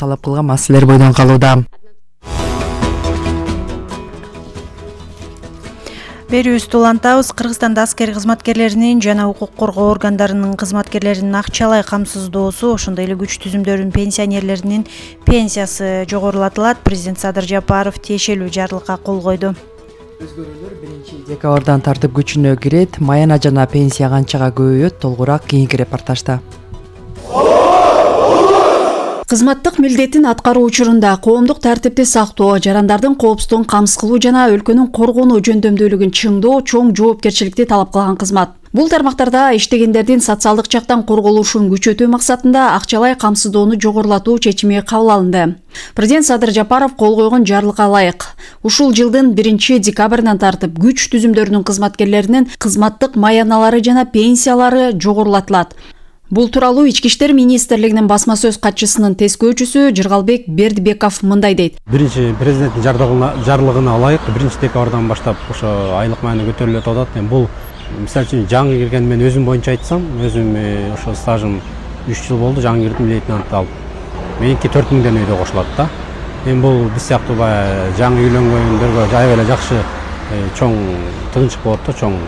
талап кылган маселелер бойдон калууда. Берүүбүздү улантабыз. Кыргызстанда аскер кызматкерлеринин жана укук коргоо органдарынын кызматкерлеринин акчалай камсыздоосу, ошондой эле күч түзүмдөрүнүн пенсионерлеринин пенсиясы жогорулатылат. Президент Садыр Жапаров тиешелүү жарлыкка кол койду. Өзгөрүүлөр 1-декабрдан тартып күчүнө кирет. Маяна жана пенсия канчага көбөйөт? Толугураак кийинки репортажда. Кызматтык милдетин аткаруу учурунда коомдук тартипти сактоо, жарандардын коопсуздугун камсыз кылуу жана өлкөнүн коргонуу жөндөмдүүлүгүн чыңдоо чоң жоопкерчиликти талап кылган кызмат. Бул тармактарда иштегендердин социалдык жактан корголушун күчөтүү максатында акчалай камсыздоону жогорулатуу чечими кабыл алынды. Президент Садыр Жапаров кол койгон жарлыкка ылайык ушул жылдын 1-декабрынан тартып күч түзүмдөрүнүн кызматкерлеринин кызматтык маяналары жана пенсиялары жогорулатылат. Бул тууралуу Ички иштер министрлигинин басма сөз катчысынын тескөөчүсү Жыргалбек Бердибеков мындай дейт. Биринчи президенттин жарлыгына ылайык 1-декабрдан баштап ошо айлык маяна көтөрүлөт атат. Бул мисалы үчүн жаңы кирген, мен өзүм боюнча айтсам, өзүм ошо стажым 3 жыл болду, жаңы кирдим, лейтенант алып. Меники 4000 өйдө кошулат да. Бул биз сыяктуу жаңы үйлөнгөндөргө аябай эле жакшы чоң тыгынчык болот да, чоң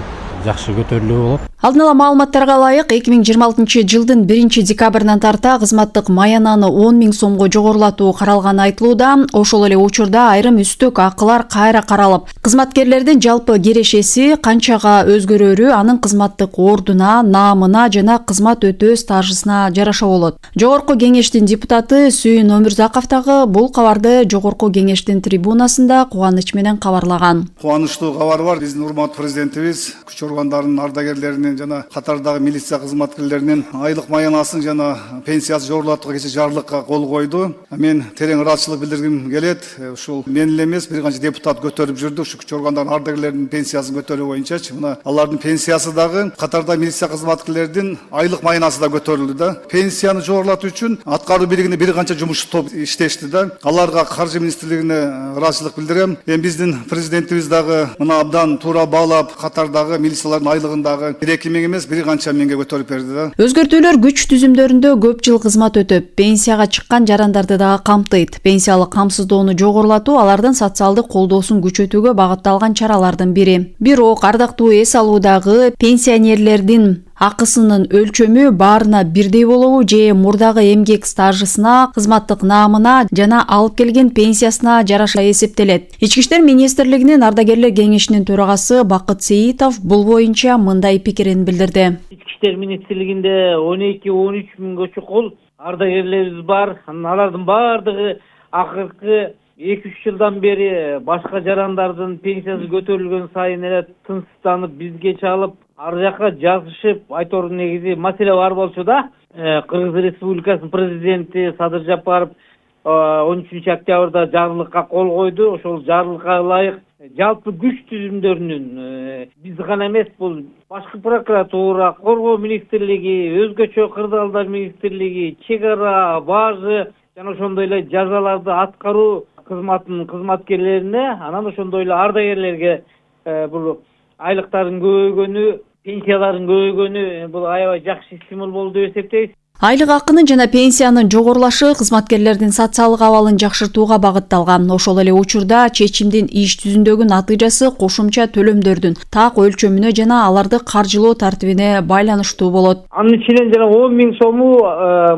жакшы көтөрүлүү болот. Алдын ала маалыматтарга ылайык 2026 жылдын 1-декабрынан тарта кызматтык маянаны 10 000 сомго жогорулатуу каралганы айтылууда. Ошол эле учурда айрым үстөк акылар кайра каралып, кызматкерлердин жалпы керешеси канчага өзгөрөрү анын кызматтык ордуна, наамына жана кызмат өтөө стажысына жараша болот. Жогорку кеңештин депутаты Сүйүн Өмүрзаков дагы бул кабарды жогорку кеңештин трибунасында кубаныч менен кабарлаган. Кубанычтуу кабар бар. Биздин урматтуу президентибиз күч органдарынын ардагерлеринин жана катардагы милиция кызматкерлеринин айлык маянасын жана пенсиясын жогорулатууга кечээ жарлыкка кол койду. Мен терең ыраазычылык билдиргим келет. Ушул мен эле эмес, бир канча депутат көтөрүп жүрдү. Ушу күч органдарынын ардагерлеринин пенсиясын көтөрүү боюнчачы. Мына алардын пенсиясы дагы катардагы милиция кызматкерлеринин айлык маянасы да көтөрүлдү да. Пенсияны жогорулатуу үчүн аткаруу биригине бир канча жумушчу топ иштешти да. Аларга каржы министрлигине ыраазычылык билдирем. Биздин президентибиз дагы мына абдан туура баалап катардагы милициялардын айлыгын дагы 2 000 эмес, бир канча миңге көтөрүп берди да. Өзгөртүүлөр күч түзүмдөрүндө көп жыл кызмат өтөп, пенсияга чыккан жарандарды дагы камтыйт. Пенсиялык камсыздоону жогорулатуу алардын социалдык колдоосун күчөтүүгө багытталган чаралардын бири. Бирок ардактуу эс алуудагы пенсионерлердин акысынын өлчөмү баарына бирдей болобу же мурдагы эмгек стажысына, кызматтык наамына жана алып келген пенсиясына жараша эсептелет. Ички иштер министрлигинин ардагерлер кеңешинин төрагасы Бакыт Сейитов бул боюнча мындай пикирин билдирди. Ички иштер министрлигинде 12-13 миңге чукул ардагерлерибиз бар. Алардын баардыгы акыркы 2-3 жылдан бери башка жарандардын пенсиясы көтөрүлгөн сайын эле тынчсызданып бизге чалып, ар жакка жазышып, айтор негизи маселе бар болчу да. Кыргыз Республикасынын президенти Садыр Жапаров 13 октябрда жарлыкка кол койду. Ошол жарлыкка ылайык жалпы күч түзүмдөрүнүн биз гана эмес, бул башкы прокуратура, коргоо министрлиги, өзгөчө кырдаалдар министрлиги, чек ара, бажы жана ошондой эле жазаларды аткаруу кызматынын кызматкерлерине, анан ошондой эле ардагерлерге бул айлыктардын көбөйгөнү, пенсиялардын көбөйгөнү бул аябай жакшы стимул болду деп эсептейбиз. Айлык акынын жана пенсиянын жогорулашы кызматкерлердин социалдык абалын жакшыртууга багытталган. Ошол эле учурда чечимдин иш жүзүндөгү натыйжасы кошумча төлөмдөрдүн так өлчөмүнө жана аларды каржылоо тартибине байланыштуу болот. Анын ичинен жана 10 000 сому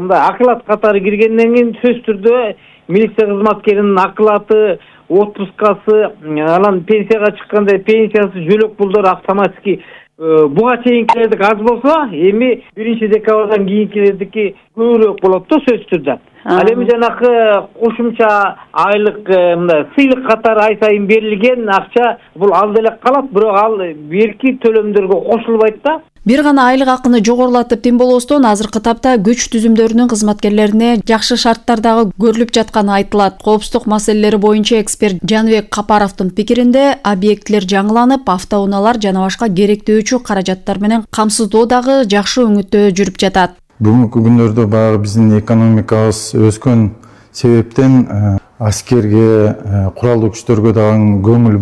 мындай акылат катары киргенден кийин сөзсүз түрдө милиция кызматкеринин акылаты, отпускасы, анан пенсияга чыкканда пенсиясы, жөлөк пулдары автоматически буга чейинкилердики аз болсо, эми 1-декабрдан кийинкилердики көбүрөөк болот да сөзсүз түрдө. Ал эми жанакы кошумча айлык мындай сыйлык катары ай сайын берилген акча бул алда эле калат, бирок ал берки төлөмдөргө кошулбайт да. Бир гана айлык акыны жогорулатып тим болостон азыркы тапта күч түзүмдөрүнүн кызматкерлерине жакшы шарттардагы көрүлүп жатканы айтылат. Коопсуздук маселелери боюнча эксперт Жаныбек Капаровдун пикиринде объектилер жаңыланып, автоунаалар жана башка керектөөчү каражаттар менен камсыздоо дагы жакшы өңүттө жүрүп жатат. Бүгүнкү күндөрдө баягы биздин экономикабыз өскөн себептен аскерге, куралдуу күчтөргө дагы көңүл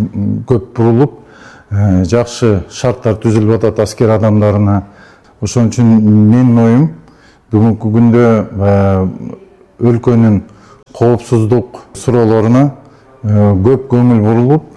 көп бурулуп, жакшы шарттар түзүлүп атат аскер адамдарына. Ошон үчүн менин оюм бүгүнкү күндө өлкөнүн коопсуздук суроолоруна көп көңүл бурулуп,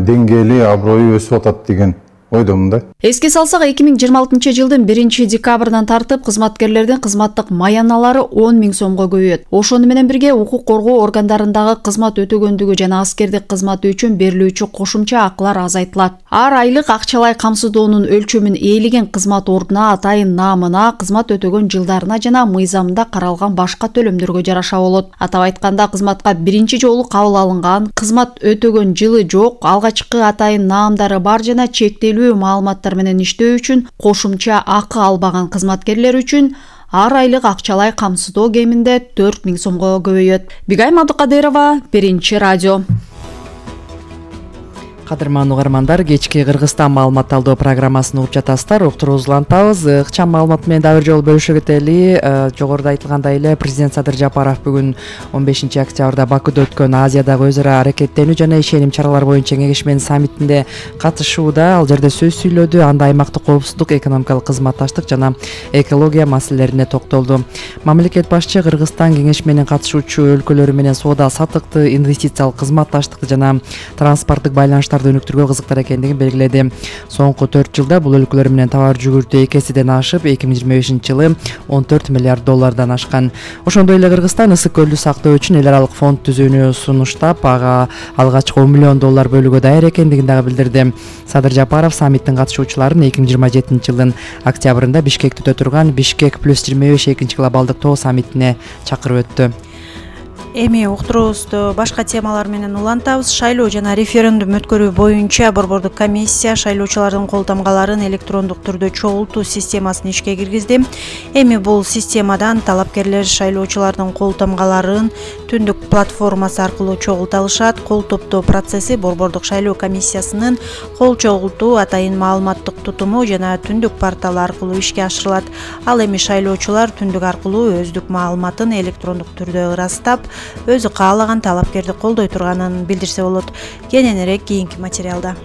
деңгээли, аброю өсүп атат деген ойдомун да. Эске салсак, 2026 жылдын 1-декабрынан тартып кызматкерлердин кызматтык маяналары 10 000 сомго көбөйөт. Ошону менен бирге укук коргоо органдарындагы кызмат өтөгөндүгү жана аскердик кызматы үчүн берилүүчү кошумча акылар азайтылат. Ар айлык акчалай камсыздоонун өлчөмүн ээлеген кызмат ордуна, атайын наамына, кызмат өтөгөн жылдарына жана мыйзамда каралган башка төлөмдөргө жараша болот. Атап айтканда, кызматка биринчи жолу кабыл алынган, кызмат өтөгөн жылы жок, алгачкы атайын наамдары бар жана чектелүү маалыматтар менен иштөө үчүн кошумча акы албаган кызматкерлер үчүн ар айлык акчалай камсыздоо кеминде 4 000 сомго көбөйөт. Бигайым Абдыкадырова, Биринчи радио. Кадырман угармандар, кечки Кыргызстан маалымат алуу программасын угуп жатасыздар. Уктурууңузду улантабыз. Ыкчам маалымат менен дагы бир жолу бөлүшө кетели. Жогоруда айтылгандай эле, президент Садыр Жапаров бүгүн 15 октябрда Бакуда өткөн Азиядагы өз ара аракеттенүү жана ишеним чаралар боюнча кеңешменин саммитинде катышууда. Ал жерде сөз сүйлөдү. Анда аймактык коопсуздук, экономикалык кызматташтык жана экология маселелерине токтолду. Мамлекет башчы Кыргызстан кеңешменин катышуучу өлкөлөрү менен соода саттыкты, инвестициялык кызматташтыкты жана транспорттук байланыштарды өнүктүрүүгө кызыктар экендигин белгиледи. Соңку 4 жылда бул өлкөлөр менен товар жүгүртүү 2 эседен ашып, 2025 жылы 14 миллиард доллардан ашкан. Ошондой эле Кыргызстан ысык көлдү сактоо үчүн эл аралык фонд түзүүнү сунуштап, ага алгачкы 10 миллион доллар бөлүүгө даяр экендигин дагы билдирди. Садыр Жапаров саммиттин катышуучуларын 2027 жылдын октябрында Бишкекте өтө турган Бишкек +25 экинчи глобалдык тоо саммитине чакырып өттү. Эми уктуруубузду башка темалар менен улантабыз. Шайлоо жана референдум өткөрүү боюнча Борбордук комиссия шайлоочулардын кол тамгаларын электрондук түрдө чогултуу системасын ишке киргизди. Эми бул системадан талапкерлер шайлоочулардын кол тамгаларын түндүк платформасы аркылуу чогулта алышат. Кол топтоо процесси Борбордук шайлоо комиссиясынын кол чогултуу, атайын маалыматтык тутуму жана түндүк порталы аркылуу ишке ашырылат. Ал эми шайлоочулар түндүк аркылуу өздүк маалыматын электрондук түрдө ырастап, өзү каалаган талапкерди колдой турганын билдирсе болот. Кененирээк кийинки материалда.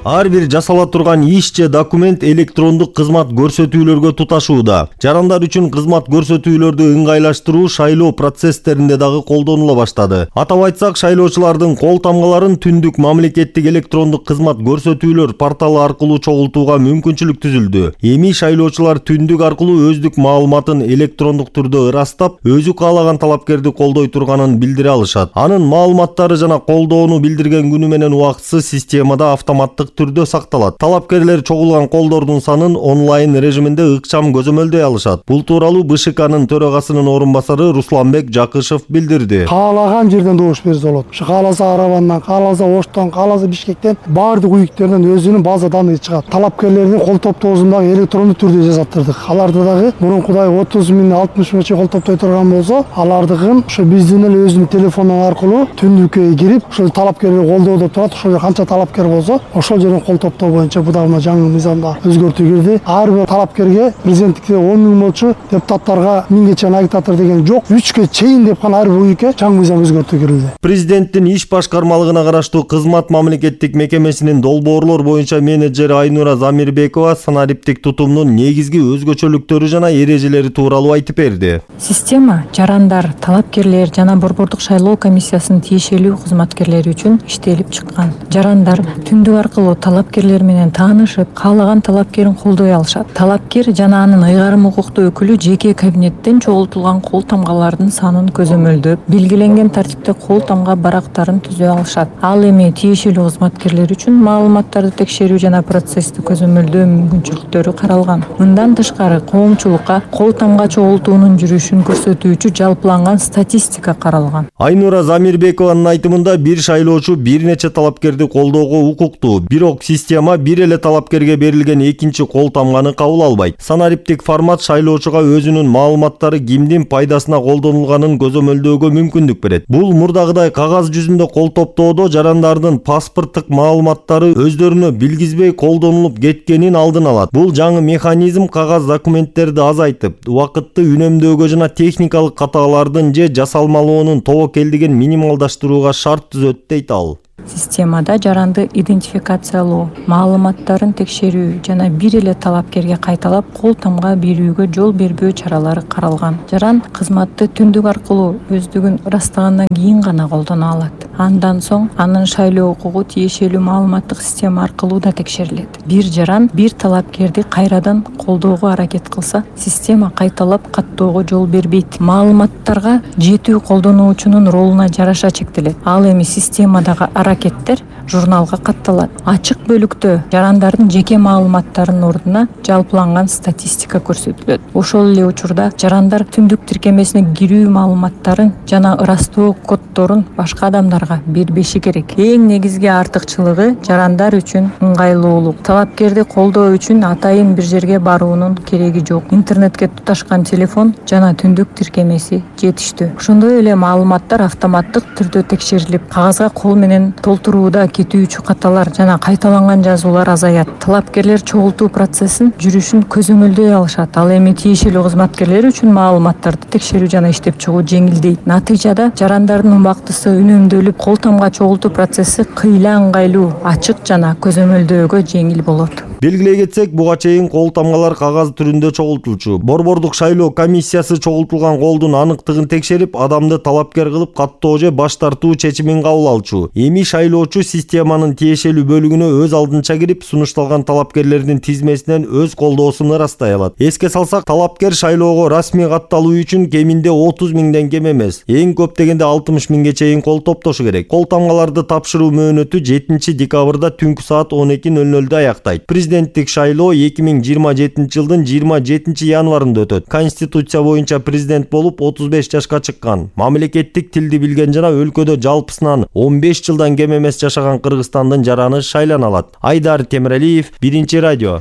Ар бир жасала турган иш же документ электрондук кызмат көрсөтүүлөргө туташууда. Жарандар үчүн кызмат көрсөтүүлөрдү ыңгайлаштыруу шайлоо процесстеринде дагы колдонула баштады. Атап айтсак, шайлоочулардын кол тамгаларын түндүк мамлекеттик электрондук кызмат көрсөтүүлөр порталы аркылуу чогултууга мүмкүнчүлүк түзүлдү. Эми шайлоочулар түндүк аркылуу өздүк маалыматын электрондук түрдө ырастап, өзү каалаган талапкерди колдой турганын билдире алышат. Анын маалыматтары жана колдоону билдирген күнү менен убактысы системада автоматтык түрдө сакталат. Талапкерлер чогулган колдордун санын онлайн режиминде ыкчам көзөмөлдөй алышат. Бул тууралуу БШКнын төрагасынын орун басары Русланбек Жакышев билдирди. Каалаган жерден добуш берсе болот. Кааласа Аравандан, кааласа Оштон, кааласа Бишкектен баардык уюктерден өзүнүн база данные чыгат. Талапкерлердин кол топтоосун дагы электрондук түрдө жасаттырдык. Аларды дагы мурункудай 30 000, 60 000 кол топтой турган болсо, алардыкын ошо биздин эле өзүнүн телефондон аркылуу түндүккө кирип, ошо талапкерди колдоодо турат. Ошо канча талапкер болсо, ошол жерден кол топтоо боюнча бу дагы жаңы мыйзамда өзгөртүү кирди. Ар бир талапкерге президенттикте 10 000 болчу, депутаттарга 1000ге чейин агитатор деген жок. 3кө чейин деп гана ар бир уюкка жаңы мыйзам өзгөртүү кирилди. Президенттин иш башкармалыгына караштуу кызмат мамлекеттик мекемесинин долбоорлор боюнча менеджери Айнура Замирбекова санариптик тутумдун негизги өзгөчөлүктөрү жана эрежелери тууралуу айтып берди. Система жарандар, талапкерлер жана Борбордук шайлоо комиссиясынын тиешелүү кызматкерлери үчүн иштелип чыккан. Жарандар түндүк аркылуу талапкерлер менен таанышып, каалаган талапкерин колдой алышат. Талапкер жана анын ыйгарым укуктуу өкүлү жеке кабинеттен чогултулган кол тамгалардын санын көзөмөлдөп, белгиленген тартипте кол тамга барактарын түзө алышат. Ал эми тиешелүү кызматкерлер үчүн маалыматтарды текшерүү жана процессти көзөмөлдөө мүмкүнчүлүктөрү каралган. Мындан тышкары, коомчулукка кол тамга чогултуунун жүрүшүн көрсөтүүчү жалпыланган статистика каралган. Айнура Замирбекованын айтымында, бир шайлоочу бир нече талапкерди колдоого укуктуу. Бирок система бир эле талапкерге берилген экинчи кол тамганы кабыл албайт. Санариптик формат шайлоочуга өзүнүн маалыматтары кимдин пайдасына колдонулганын көзөмөлдөөгө мүмкүндүк берет. Бул мурдагыдай кагаз жүзүндө кол топтоодо жарандардын паспорттук маалыматтары өздөрүнө билгизбей колдонулуп кеткенин алдын алат. Бул жаңы механизм кагаз документтерди азайтып, убакытты үнөмдөөгө жана техникалык катаалардын же жасалмалоонун тобокелдигин минималдаштырууга шарт түзөт дейт ал. Системада жаранды идентификациялоо, маалыматтарын текшерүү жана бир эле талапкерге кайталап кол тамга берүүгө жол бербөө чаралары каралган. Жаран кызматты түндүк аркылуу өздүгүн ырастагандан кийин гана колдоно алат. Андан соң анын шайлоо укугу тиешелүү маалыматтык система аркылуу да текшерилет. Бир жаран бир талапкерди кайрадан колдоого аракет кылса, система кайталап каттоого жол бербейт. Маалыматтарга жетүү колдонуучунун ролуна жараша чектелет. Ал эми системадагы аракеттер журналга катталат. Ачык бөлүктө жарандардын жеке маалыматтарынын ордуна жалпыланган статистика көрсөтүлөт. Ошол эле учурда жарандар түндүк тиркемесине кирүү маалыматтарын жана ырастоо коддорун башка адамдарга бербеши керек. Эң негизги артыкчылыгы жарандар үчүн ыңгайлуулук. Талапкерди колдоо үчүн атайын бир жерге баруунун кереги жок. Интернетке туташкан телефон жана түндүк тиркемеси жетиштүү. Ошондой эле маалыматтар автоматтык түрдө текшерилип, кагазга кол менен толтурууда кетүүчү каталар жана кайталанган жазуулар азаят. Талапкерлер чогултуу процессин жүрүшүн көзөмөлдөй алышат. Ал эми тиешелүү кызматкерлер үчүн маалыматтарды текшерүү жана иштеп чыгуу жеңилдейт. Натыйжада жарандардын убактысы үнөмдөлүп, кол тамга чогултуу процесси кыйла ыңгайлуу, ачык жана көзөмөлдөөгө жеңил болот. Белгилей кетсек, буга чейин кол тамгалар кагаз түрүндө чогултулчу. Борбордук шайлоо комиссиясы чогултулган колдун аныктыгын текшерип, адамды талапкер кылып каттоо же баш тартуу чечимин кабыл алчу. Эми шайлоочу системанын тиешелүү бөлүгүнө өз алдынча кирип, сунушталган талапкерлердин тизмесинен өз колдоосун ырастай алат. Эске салсак, талапкер шайлоого расмий катталуу үчүн кеминде 30 миңден кем эмес, эң көп дегенде 60 миңге чейин кол топтошу керек. Кол тамгаларды тапшыруу мөөнөтү 7 декабрда түнкү саат 12:00 аяктайт. Президенттик шайлоо 2027 жылдын 27 январында өтөт. Конституция боюнча президент болуп 35 жашка чыккан. Мамлекеттик тилди билген жана өлкөдө жалпысынан 15 жылдан кем эмес жашаган Кыргызстандын жараны шайлана алат. Айдар Темиралиев, Биринчи радио.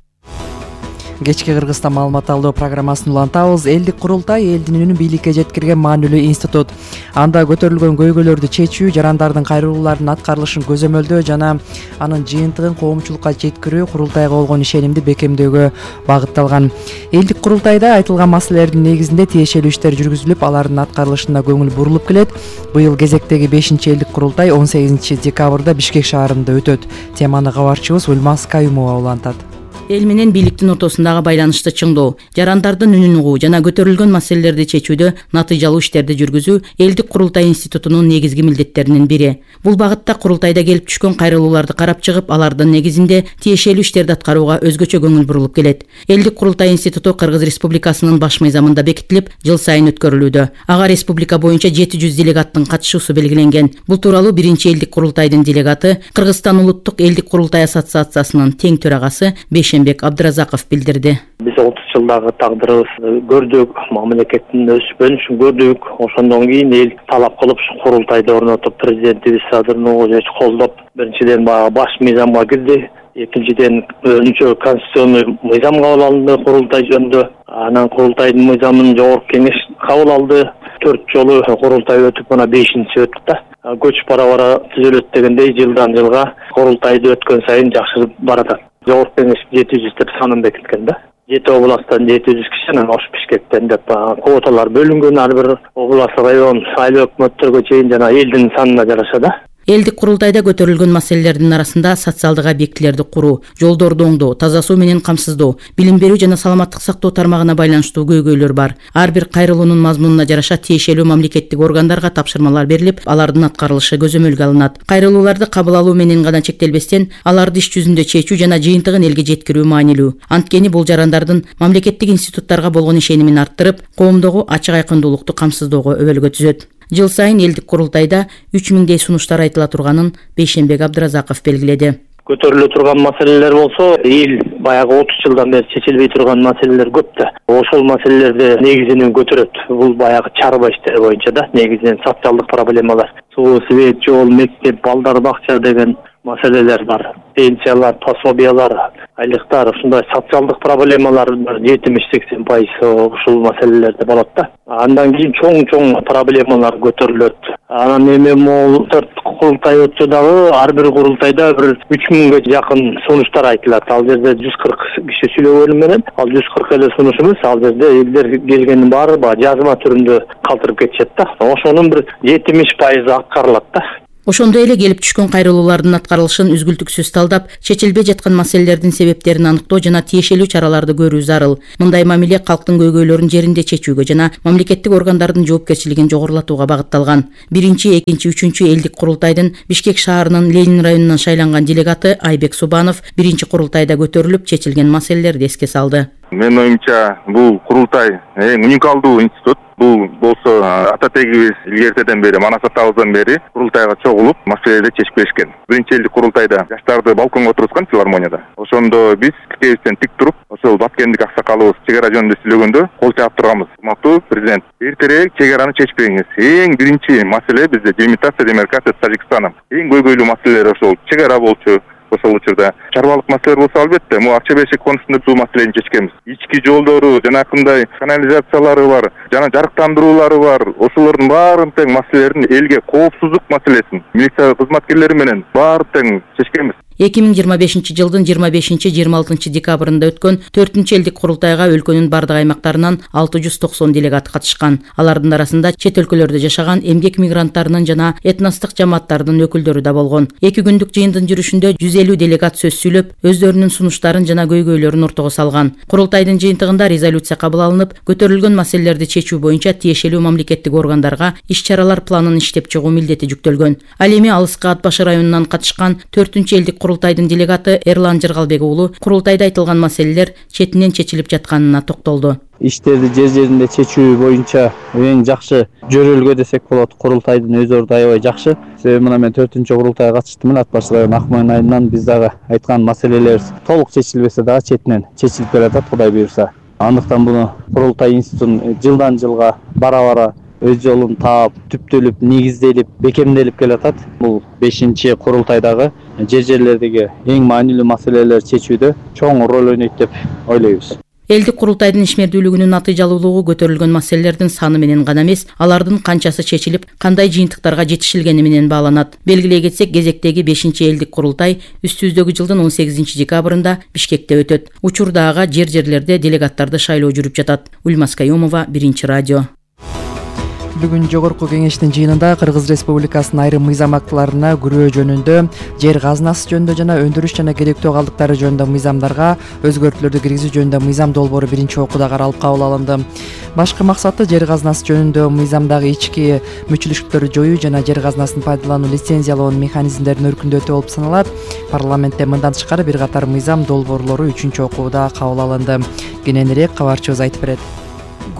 Кечки Кыргызстан маалымат алуу программасын улантабыз. Элдик курултай элдин үнүн бийликке жеткирген маанилүү институт. Анда көтөрүлгөн көйгөйлөрдү чечүү, жарандардын кайрылууларынын аткарылышын көзөмөлдөө жана анын жыйынтыгын коомчулукка жеткирүү курултайга болгон ишенимди бекемдөөгө багытталган. Элдик курултайда айтылган маселелердин негизинде тиешелүү иштер жүргүзүлүп, алардын аткарылышына көңүл бурулуп келет. Быйыл кезектеги 5-элдик курултай 18 декабрда Бишкек шаарында өтөт. Теманы кабарчыбыз Ульмас Каюмова улантат. Эл менен бийликтин ортосундагы байланышты чыңдоо, жарандардын үнүн угуу жана көтөрүлгөн маселелерди чечүүдө натыйжалуу иштерди жүргүзүү элдик курултай институтунун негизги милдеттеринин бири. Бул багытта курултайда келип түшкөн кайрылууларды карап чыгып, алардын негизинде тиешелүү иштерди аткарууга өзгөчө көңүл бурулуп келет. Элдик курултай институту Кыргыз Республикасынын баш мыйзамында бекитилип, жыл сайын өткөрүлүүдө. Ага республика боюнча 700 делегаттын катышуусу белгиленген. Бул тууралуу биринчи элдик курултайдын делегаты, Кыргызстан улуттук элдик курултай ассоциациясынын тең төрагасы Бейшенбек Абдыразаков билдирди. Биз 30 жылдагы тагдырыбызды көрдүк, мамлекеттин өспөн үчүн көрдүк. Ошондон кийин эл талап кылып курултайды орнотуп, президентибиз Садыр Нурматович колдоп, биринчиден баш мыйзамга кирди. Экинчиден өзүнчө конституционный мыйзам кабыл алынды курултай жөнүндө. Анан курултайдын мыйзамын жогорку кеңеш кабыл алды. 4 жолу курултай өтүп, мына 5-инчи өттү да. Көч бара түзүлөт дегендей жылдан жылга курултайды өткөн сайын жакшырып баратат. Жогорку кеңеш 700 деп санын бекиткен да. 7 областтан 700 киши, анан Ош Бишкектен деп квоталар бөлүнгөн, ар бир област, район, айыл өкмөттөргө чейин жана элдин санына жараша да. Элдик курултайда көтөрүлгөн маселелердин арасында социалдык объектилерди куруу, жолдорду оңдоо, таза суу менен камсыздоо, билим берүү жана саламаттык сактоо тармагына байланыштуу көйгөйлөр бар. Ар бир кайрылуунун мазмунуна жараша тиешелүү мамлекеттик органдарга тапшырмалар берилип, алардын аткарылышы көзөмөлгө алынат. Кайрылууларды кабыл алуу менен гана чектелбестен, аларды иш жүзүндө чечүү жана жыйынтыгын элге жеткирүү маанилүү. Анткени бул жарандардын мамлекеттик институттарга болгон ишенимин арттырып, коомдогу ачык айкындуулукту камсыздоого өбөлгө түзөт. Жыл сайын элдик курултайда 3000дей сунуштар айтыла турганын Бейшенбек Абдыразаков белгиледи. Көтөрүлө турган маселелер болсо, эл баягы 30 жылдан бери чечилбей турган маселелер көп да. Ошол маселелерди негизинен көтөрөт. Бул баягы чарба иштери боюнча да, негизинен социалдык проблемалар. Суу, свет, жол, мектеп, балдар бакча деген маселелер бар. Пенсиялар, пособиялар, айлыктар, ушундай социалдык проблемалар 70-80% ушул маселелерде болот да. Андан кийин чоң проблемалар көтөрүлөт. Анан эми могул 4 курултай өттү дагы, ар бир курултайда бир 3000ге жакын сунуштар айтылат. Ал жерде 140 киши сүйлөгөнү менен, ал 140 эле сунуш эмес, ал жерде элдер келгендин баары жазма түрүндө калтырып кетишет да. Ошонун бир 70% аткарылат да. Ошондой эле келип түшкөн кайрылуулардын аткарылышын үзгүлтүксүз талдап, чечилбей жаткан маселелердин себептерин аныктоо жана тиешелүү чараларды көрүү зарыл. Мындай мамиле калктын көйгөйлөрүн жеринде чечүүгө жана мамлекеттик органдардын жоопкерчилигин жогорулатууга багытталган. 1, 2, 3 элдик курултайдын Бишкек шаарынын Ленин районунан шайланган делегаты Айбек Субанов биринчи курултайда көтөрүлүп чечилген маселелерди эске салды. Менин оюмча, бул курултай эң уникалдуу институт. Бул болсо ата-тегибиз илгертеден бери, манас атабыздан бери курултайга чогулуп, маселелерди чечип келишкен. Биринчи элдик курултайда жаштарды балконго отургузган филармонияда. Ошондо биз тикебизден тик туруп, ошол Баткендик аксакалыбыз чек ара жөнүндө сүйлөгөндө кол чаап турганбыз. Урматтуу президент, эртерээк чек араны чечип бериңиз. Эң биринчи маселе бизде делимитация, демаркация с Тажикстаном. Эң көйгөйлүү маселелер ошол чек ара болчу. Ошол учурда чарбалык маселелер болсо албетте, Акча Бешик конусунда бул маселени чечкенбиз. Ички жолдору, жанакындай канализациялары бар, жана жарыктандыруулары бар. Ошолордун баарын тең маселелерин элге коопсуздук маселесин милиция кызматкерлери менен баарын тең чечкенбиз. 2025 жылдын 25-26 декабрында өткөн 4 элдик курултайга өлкөнүн бардык аймактарынан 690 делегат катышкан. Алардын арасында чет өлкөлөрдө жашаган эмгек мигранттарынын жана этностук жамааттардын өкүлдөрү да болгон. 2 күндүк жыйындын жүрүшүндө 150 делегат сөз сүйлөп, өздөрүнүн сунуштарын жана көйгөйлөрүн ортого салган. Курултайдын жыйынтыгында резолюция кабыл алынып, көтөрүлгөн маселелерди чечүү боюнча тиешелүү мамлекеттик органдарга иш-чаралар планын иштеп чыгуу милдети жүктөлгөн. Ал эми Алыскы Ат Башы районунан катышкан 4 элдик курултайдын делегаты Эрлан Жыргалбек уулу курултайда айтылган маселелер четинен чечилип жатканына токтолду. Иштерди жер-жеринде чечүү боюнча эң жакшы жөрөлгө десек болот. Курултайдын өз орду аябай жакшы. Себеби мына мен 4-чү курултайга катыштым эле Ат Башы району Акмоюн айынан. Биз дагы айткан маселелер толук чечилбесе дагы четинен чечилип келатат, Кудай буйрса. Андыктан буну курултай институтун жылдан жылга бара-бара өз жолун таап, түптөлүп, негизделип, бекемделип келатат. Бул 5-чи курултайдагы жер-жерлердеги эң маанилүү маселелер чечүүдө чоң роль ойнойт деп ойлойбуз. Элдик курултайдын ишмердүүлүгүнүн натыйжалуулугу көтөрүлгөн маселелердин саны менен гана эмес, алардын канчасы чечилип, кандай жыйынтыктарга жетишилгени менен бааланат. Белгилей кетсек, кезектеги 5-чи элдик курултай үстүбүздөгү жылдын 18 декабрында Бишкекте өтөт. Учурда ага жер-жерлерде делегаттарды шайлоо жүрүп жатат. Ульмас Каюмова, 1 радио. Бүгүн жогорку кеңештин жыйынында Кыргыз Республикасынын айрым мыйзам актыларына күрөө жөнүндө, жер казынасы жөнүндө жана өндүрүш жана керектөө калдыктары жөнүндө мыйзамдарга өзгөртүүлөрдү киргизүү жөнүндө мыйзам долбоору биринчи окууда каралып кабыл алынды. Башкы максаты жер казынасы жөнүндө мыйзамдагы ички мүчүлүштүктөрдү жоюу жана жер казынасын пайдалануу лицензиялоонун механизмдерин өркүндөтүү болуп саналат. Парламентте мындан тышкары бир катар мыйзам долбоорлору 3-окууда кабыл алынды. Кененирээк кабарчыбыз айтып берет.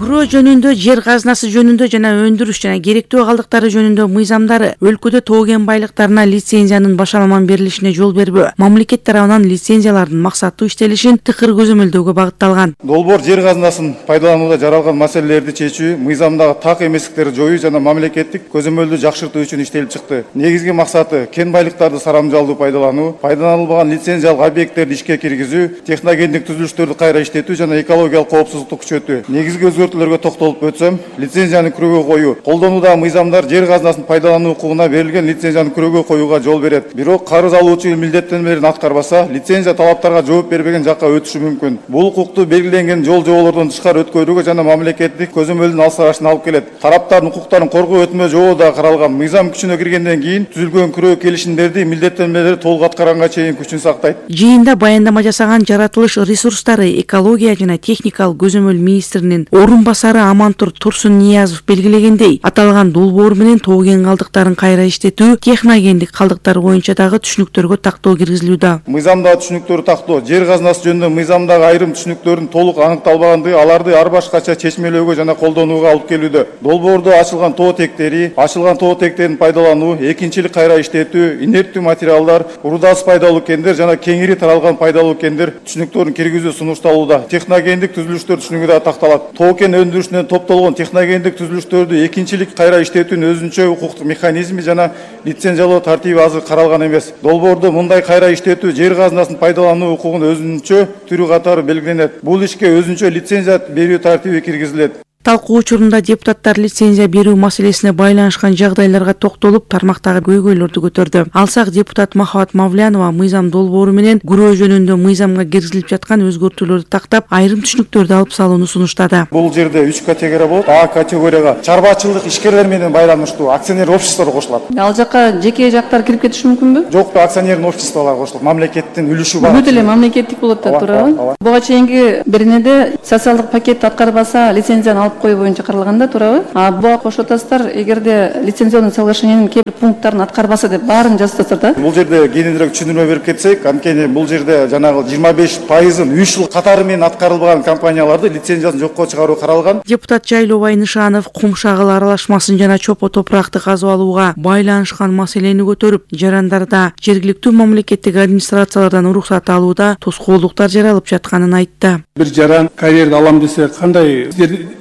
Күрөө жөнүндө, жер казынасы жөнүндө жана өндүрүш жана керектөө калдыктары жөнүндө мыйзамдары өлкөдө тоо кен байлыктарына лицензиянын башаламан берилишине жол бербөө, мамлекет тарабынан лицензиялардын максаттуу иштелишин тыкыр көзөмөлдөөгө багытталган. Долбоор жер казынасын пайдаланууда жаралган маселелерди чечүү, мыйзамдагы так эместиктерди жоюу жана мамлекеттик көзөмөлдү жакшыртуу үчүн иштелип чыкты. Негизги максаты кен байлыктарды сарамжалдуу пайдалануу, пайдаланылбаган лицензиялык объекттерди ишке киргизүү, техногендик түзүлүштөрдү кайра иштетүү жана экологиялык коопсуздукту күчөтүү. Негизги өзгөртүүлөргө токтолуп өтсөм, лицензияны күрөөгө коюу. Колдонуудагы мыйзамдар жер казынасын пайдалануу укугуна берилген лицензияны күрөөгө коюуга жол берет. Бирок карыз алуучу милдеттенмелерин аткарбаса, лицензия талаптарга жооп бербеген жакка өтүшү мүмкүн. Бул укукту белгиленген жол жоболордон тышкары өткөрүүгө жана мамлекеттик көзөмөлдүн алсырашына алып келет. Тараптардын укуктарын коргоо өтмө жобо да каралган. Мыйзам күчүнө киргенден кийин түзүлгөн күрөө келишимдерди милдеттенмелери толук аткарганга чейин күчүн сактайт. Жыйында баяндама жасаган жаратылыш ресурстары, экология жана техникалык көзөмөл министринин орун басары Амантур Турсун Ниязов белгилегендей, аталган долбоор менен тоо кен калдыктарын кайра иштетүү, техногендик калдыктар боюнча дагы түшүнүктөргө тактоо киргизилүүдө. Мыйзамдагы түшүнүктөрдү тактоо, жер казынасы жөнүндө мыйзамдагы айрым түшүнүктөрдүн толук аныкталбагандыгы аларды ар башкача чечмелөөгө жана колдонууга алып келүүдө. Долбоордо ачылган тоо тектерин пайдалануу, экинчилик кайра иштетүү, инерттүү материалдар, урдасы пайдалуу кендер жана кеңири таралган пайдалуу кендер түшүнүктөрүн киргизүү сунушталууда. Техногендик түзүлүштөр түшүнүгү да такталат. Тоо кен өндүрүшүнөн топтолгон техногендик түзүлүштөрдү экинчилик кайра иштетүүнүн өзүнчө укуктук механизми жана лицензиялоо тартиби азыр каралган эмес. Долбоордо мындай кайра иштетүү жер казынасын пайдалануу укугунун өзүнчө түрү катары белгиленет. Бул ишке өзүнчө лицензия берүү тартиби киргизилет. Талкуу учурунда депутаттар лицензия берүү маселесине байланышкан жагдайларга токтолуп, тармактагы көйгөйлөрдү көтөрдү. Алсак депутат Махабат Мавлянова мыйзам долбоору менен күрөө жөнүндө мыйзамга киргизилип жаткан өзгөртүүлөрдү тактап, айрым түшүнүктөрдү алып салууну сунуштады. Бул жерде 3 категория болот. А категорияга чарбачылык ишкерлер менен байланыштуу акционер обществолор кошулат. Ал жака жеке жактар кирип кетиши мүмкүнбү? Жок, акционердин обществолору кошулат. Мамлекеттин үлүшү бар. Бүт эле мамлекеттик болот да, туурабы? Буга чейинки беренеде социалдык пакет аткарбаса лицензияны алып коюу боюнча каралганда, туурабы? А буга кошуп атасыздар, эгерде лицензионный соглашениянын кээ бир пункттарын аткарбаса деп баарын жазып атасыздар да? Бул жерде кененирээк түшүндүрмө берип кетсек, анткени бул жерде жанагы 25%-ын 3 жыл катары менен аткарылбаган компанияларды лицензиясын жокко чыгаруу каралган. Депутат Жайлоо Айнышанов кум шагыл аралашмасын жана чопо топуракты казып алууга байланышкан маселени көтөрүп, жарандарда жергиликтүү мамлекеттик администрациялардан уруксат алууда тоскоолдуктар жаралып жатканын айтты. Бир жаран карьерди алам десе, кандай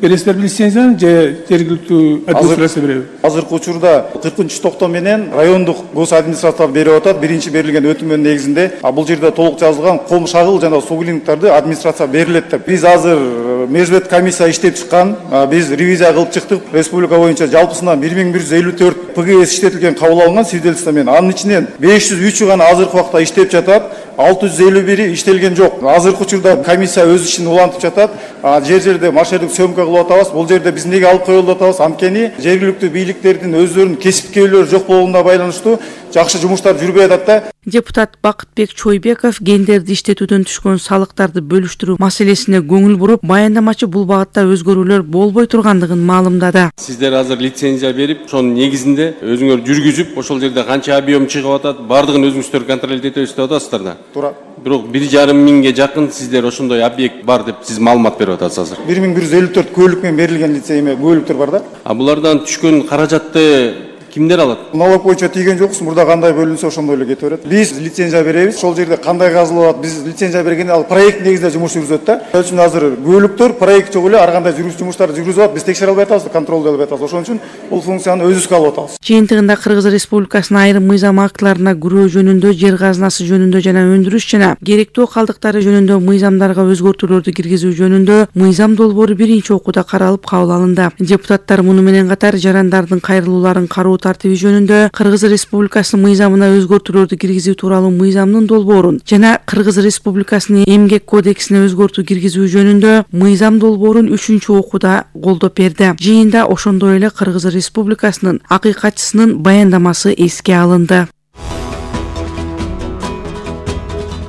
бересиздерби лицензияны же жергиликтүү администрация береби? Азыркы учурда 40-токтоо менен райондук гос администрация берип атат. Биринчи берилген өтүмдүн негизинде бул жерде толук жазылган ком шагыл жана суу клиниктарды администрация берилет деп. Биз азыр мезбет комиссия иштеп чыккан, биз ревизия кылып чыктык. Республика боюнча жалпысынан 1154 ПГС иштетилген кабыл алынган свидетельство менен. Анын ичинен 503 гана азыркы убакта иштеп жатат. 651 иштелген жок. Азыркы учурда комиссия өз ишин улантып жатат. Жер-жерде маршруттук сөмкө кылып атабыз. Бул жерде биз неге алып коюлуп атабыз? Анткени жергиликтүү бийликтердин өздөрүнүн кесипкерлери жок болгонуна байланыштуу жакшы жумуштар жүрбөй атат да. Депутат Бакытбек Чойбеков гендерди иштетүүдөн түшкөн салыктарды бөлүштүрүү маселесине көңүл буруп, баяндамачы бул багытта өзгөрүүлөр болбой тургандыгын маалымдады. Сиздер азыр лицензия берип, ошонун негизинде өзүңөр жүргүзүп, ошол жерде канча объем чыгып атат, бардыгын өзүңүздөр контроль этебиз деп атасыздар да. Туура. Бирок 1,5 миңге жакын сиздер ошондой объект бар деп сиз маалымат берип атасыз азыр. 1154 көлүк менен берилген лицензия көлүктөр бар да. Булардан түшкөн каражатты кимдер алат? Налог боюнча тийген жоксуң, мурда кандай бөлүнсө ошондой эле кете берет. Биз лицензия беребиз, ошол жерде кандай казылып атат, биз лицензия бергенде ал проект негизинде жумуш жүргүзөт да. Ошон үчүн азыр көлүктөр проект жок эле ар кандай жумуштарды жүргүзүп атат, биз текшере албай атабыз, контролдой албай атабыз. Ошон үчүн бул функцияны өзүбүзгө алып атабыз. Жыйынтыгында Кыргыз Республикасынын айрым мыйзам актыларына күрөө жөнүндө, жер казынасы жөнүндө жана өндүрүш жана керектүү калдыктары жөнүндө мыйзамдарга өзгөртүүлөрдү киргизүү жөнүндө мыйзам долбоору биринчи окууда каралып кабыл алынды. Депутаттар муну менен катар жарандардын кайрылууларын кароо тартиби жөнүндө Кыргыз Республикасынын мыйзамына өзгөртүүлөрдү киргизүү тууралуу мыйзамдын долбоорун жана Кыргыз Республикасынын эмгек кодексине өзгөртүү киргизүү жөнүндө мыйзам долбоорун 3-чү окууда колдоп берди. Жыйында ошондой эле Кыргыз Республикасынын акыйкатчысынын баяндамасы эске алынды.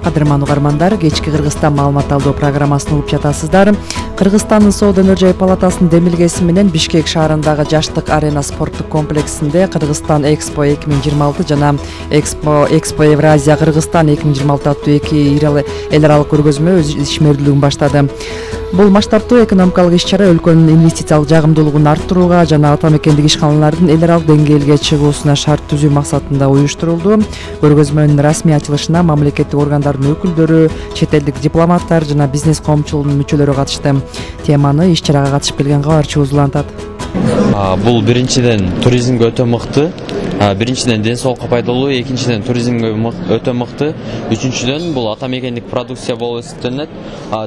Кадырман угармандар, кечки Кыргызстан маалымат алуу программасын угуп жатасыздар. Кыргызстандын соода өнөр жай палатасынын демилгеси менен Бишкек шаарындагы Жаштык арена спорттук комплексинде Кыргызстан Экспо 2026 жана Экспо Евразия Кыргызстан 2026 аттуу эки эл аралык көргөзмө өз ишмердүүлүгүн баштады. Бул масштабтуу экономикалык иш-чара өлкөнүн инвестициялык жагымдуулугун арттырууга жана ата мекендик ишканалардын эл аралык деңгээлге чыгуусуна шарт түзүү максатында уюштурулду. Көргөзмөнүн расмий ачылышына мамлекеттик органдардын өкүлдөрү, чет элдик дипломаттар жана бизнес коомчулугунун мүчөлөрү катышты. Теманы иш-чарага катышып келген кабарчыбыз улантат. Бул биринчиден туризмге өтө мыкты. Биринчиден ден соолукка пайдалуу, экинчиден туризмге өтө мыкты, үчүнчүдөн бул ата мекендик продукция болуп эсептелинет.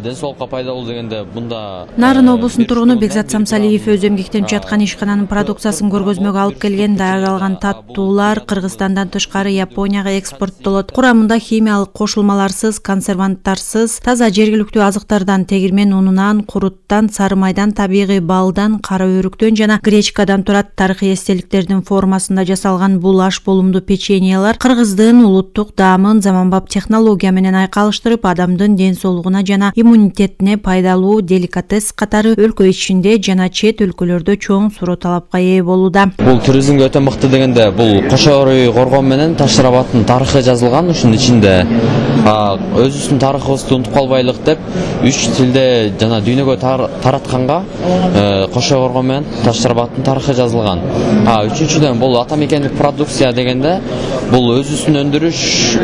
Ден соолукка пайдалуу дегенде мында Нарын облусунун тургуну Бекзат Самсалиев өз эмгектенип жаткан ишкананын продукциясын көргөзмөгө алып келген. Даярдалган таттуулар Кыргызстандан тышкары Японияга экспорттолот. Курамында химиялык кошулмаларсыз, консерванттарсыз, таза жергиликтүү азыктардан, тегирмен унунан, куруттан, сары майдан, табигый балдан, кара өрүктөн жана гречкадан турат. Тарыхый эстеликтердин формасында жасалган бул аш болумдуу печеньелер кыргыздын улуттук даамын заманбап технология менен айкалыштырып, адамдын ден соолугуна жана иммунитетине пайдалуу деликатес катары өлкө ичинде жана чет өлкөлөрдө чоң суроо талапка ээ болууда. Бул туризмге өтө мыкты дегенде бул Кошо Коргон менен Таш Рабаттын тарыхы жазылган. Ушунун ичинде өзүбүздүн тарыхыбызды унутуп калбайлык деп 3 тилде жана дүйнөгө таратканга Кошо Коргон менен Таш Рабаттын тарыхы жазылган. Үчүнчүдөн бул ата мекендик продукция дегенде бул өзүбүздүн өндүрүш,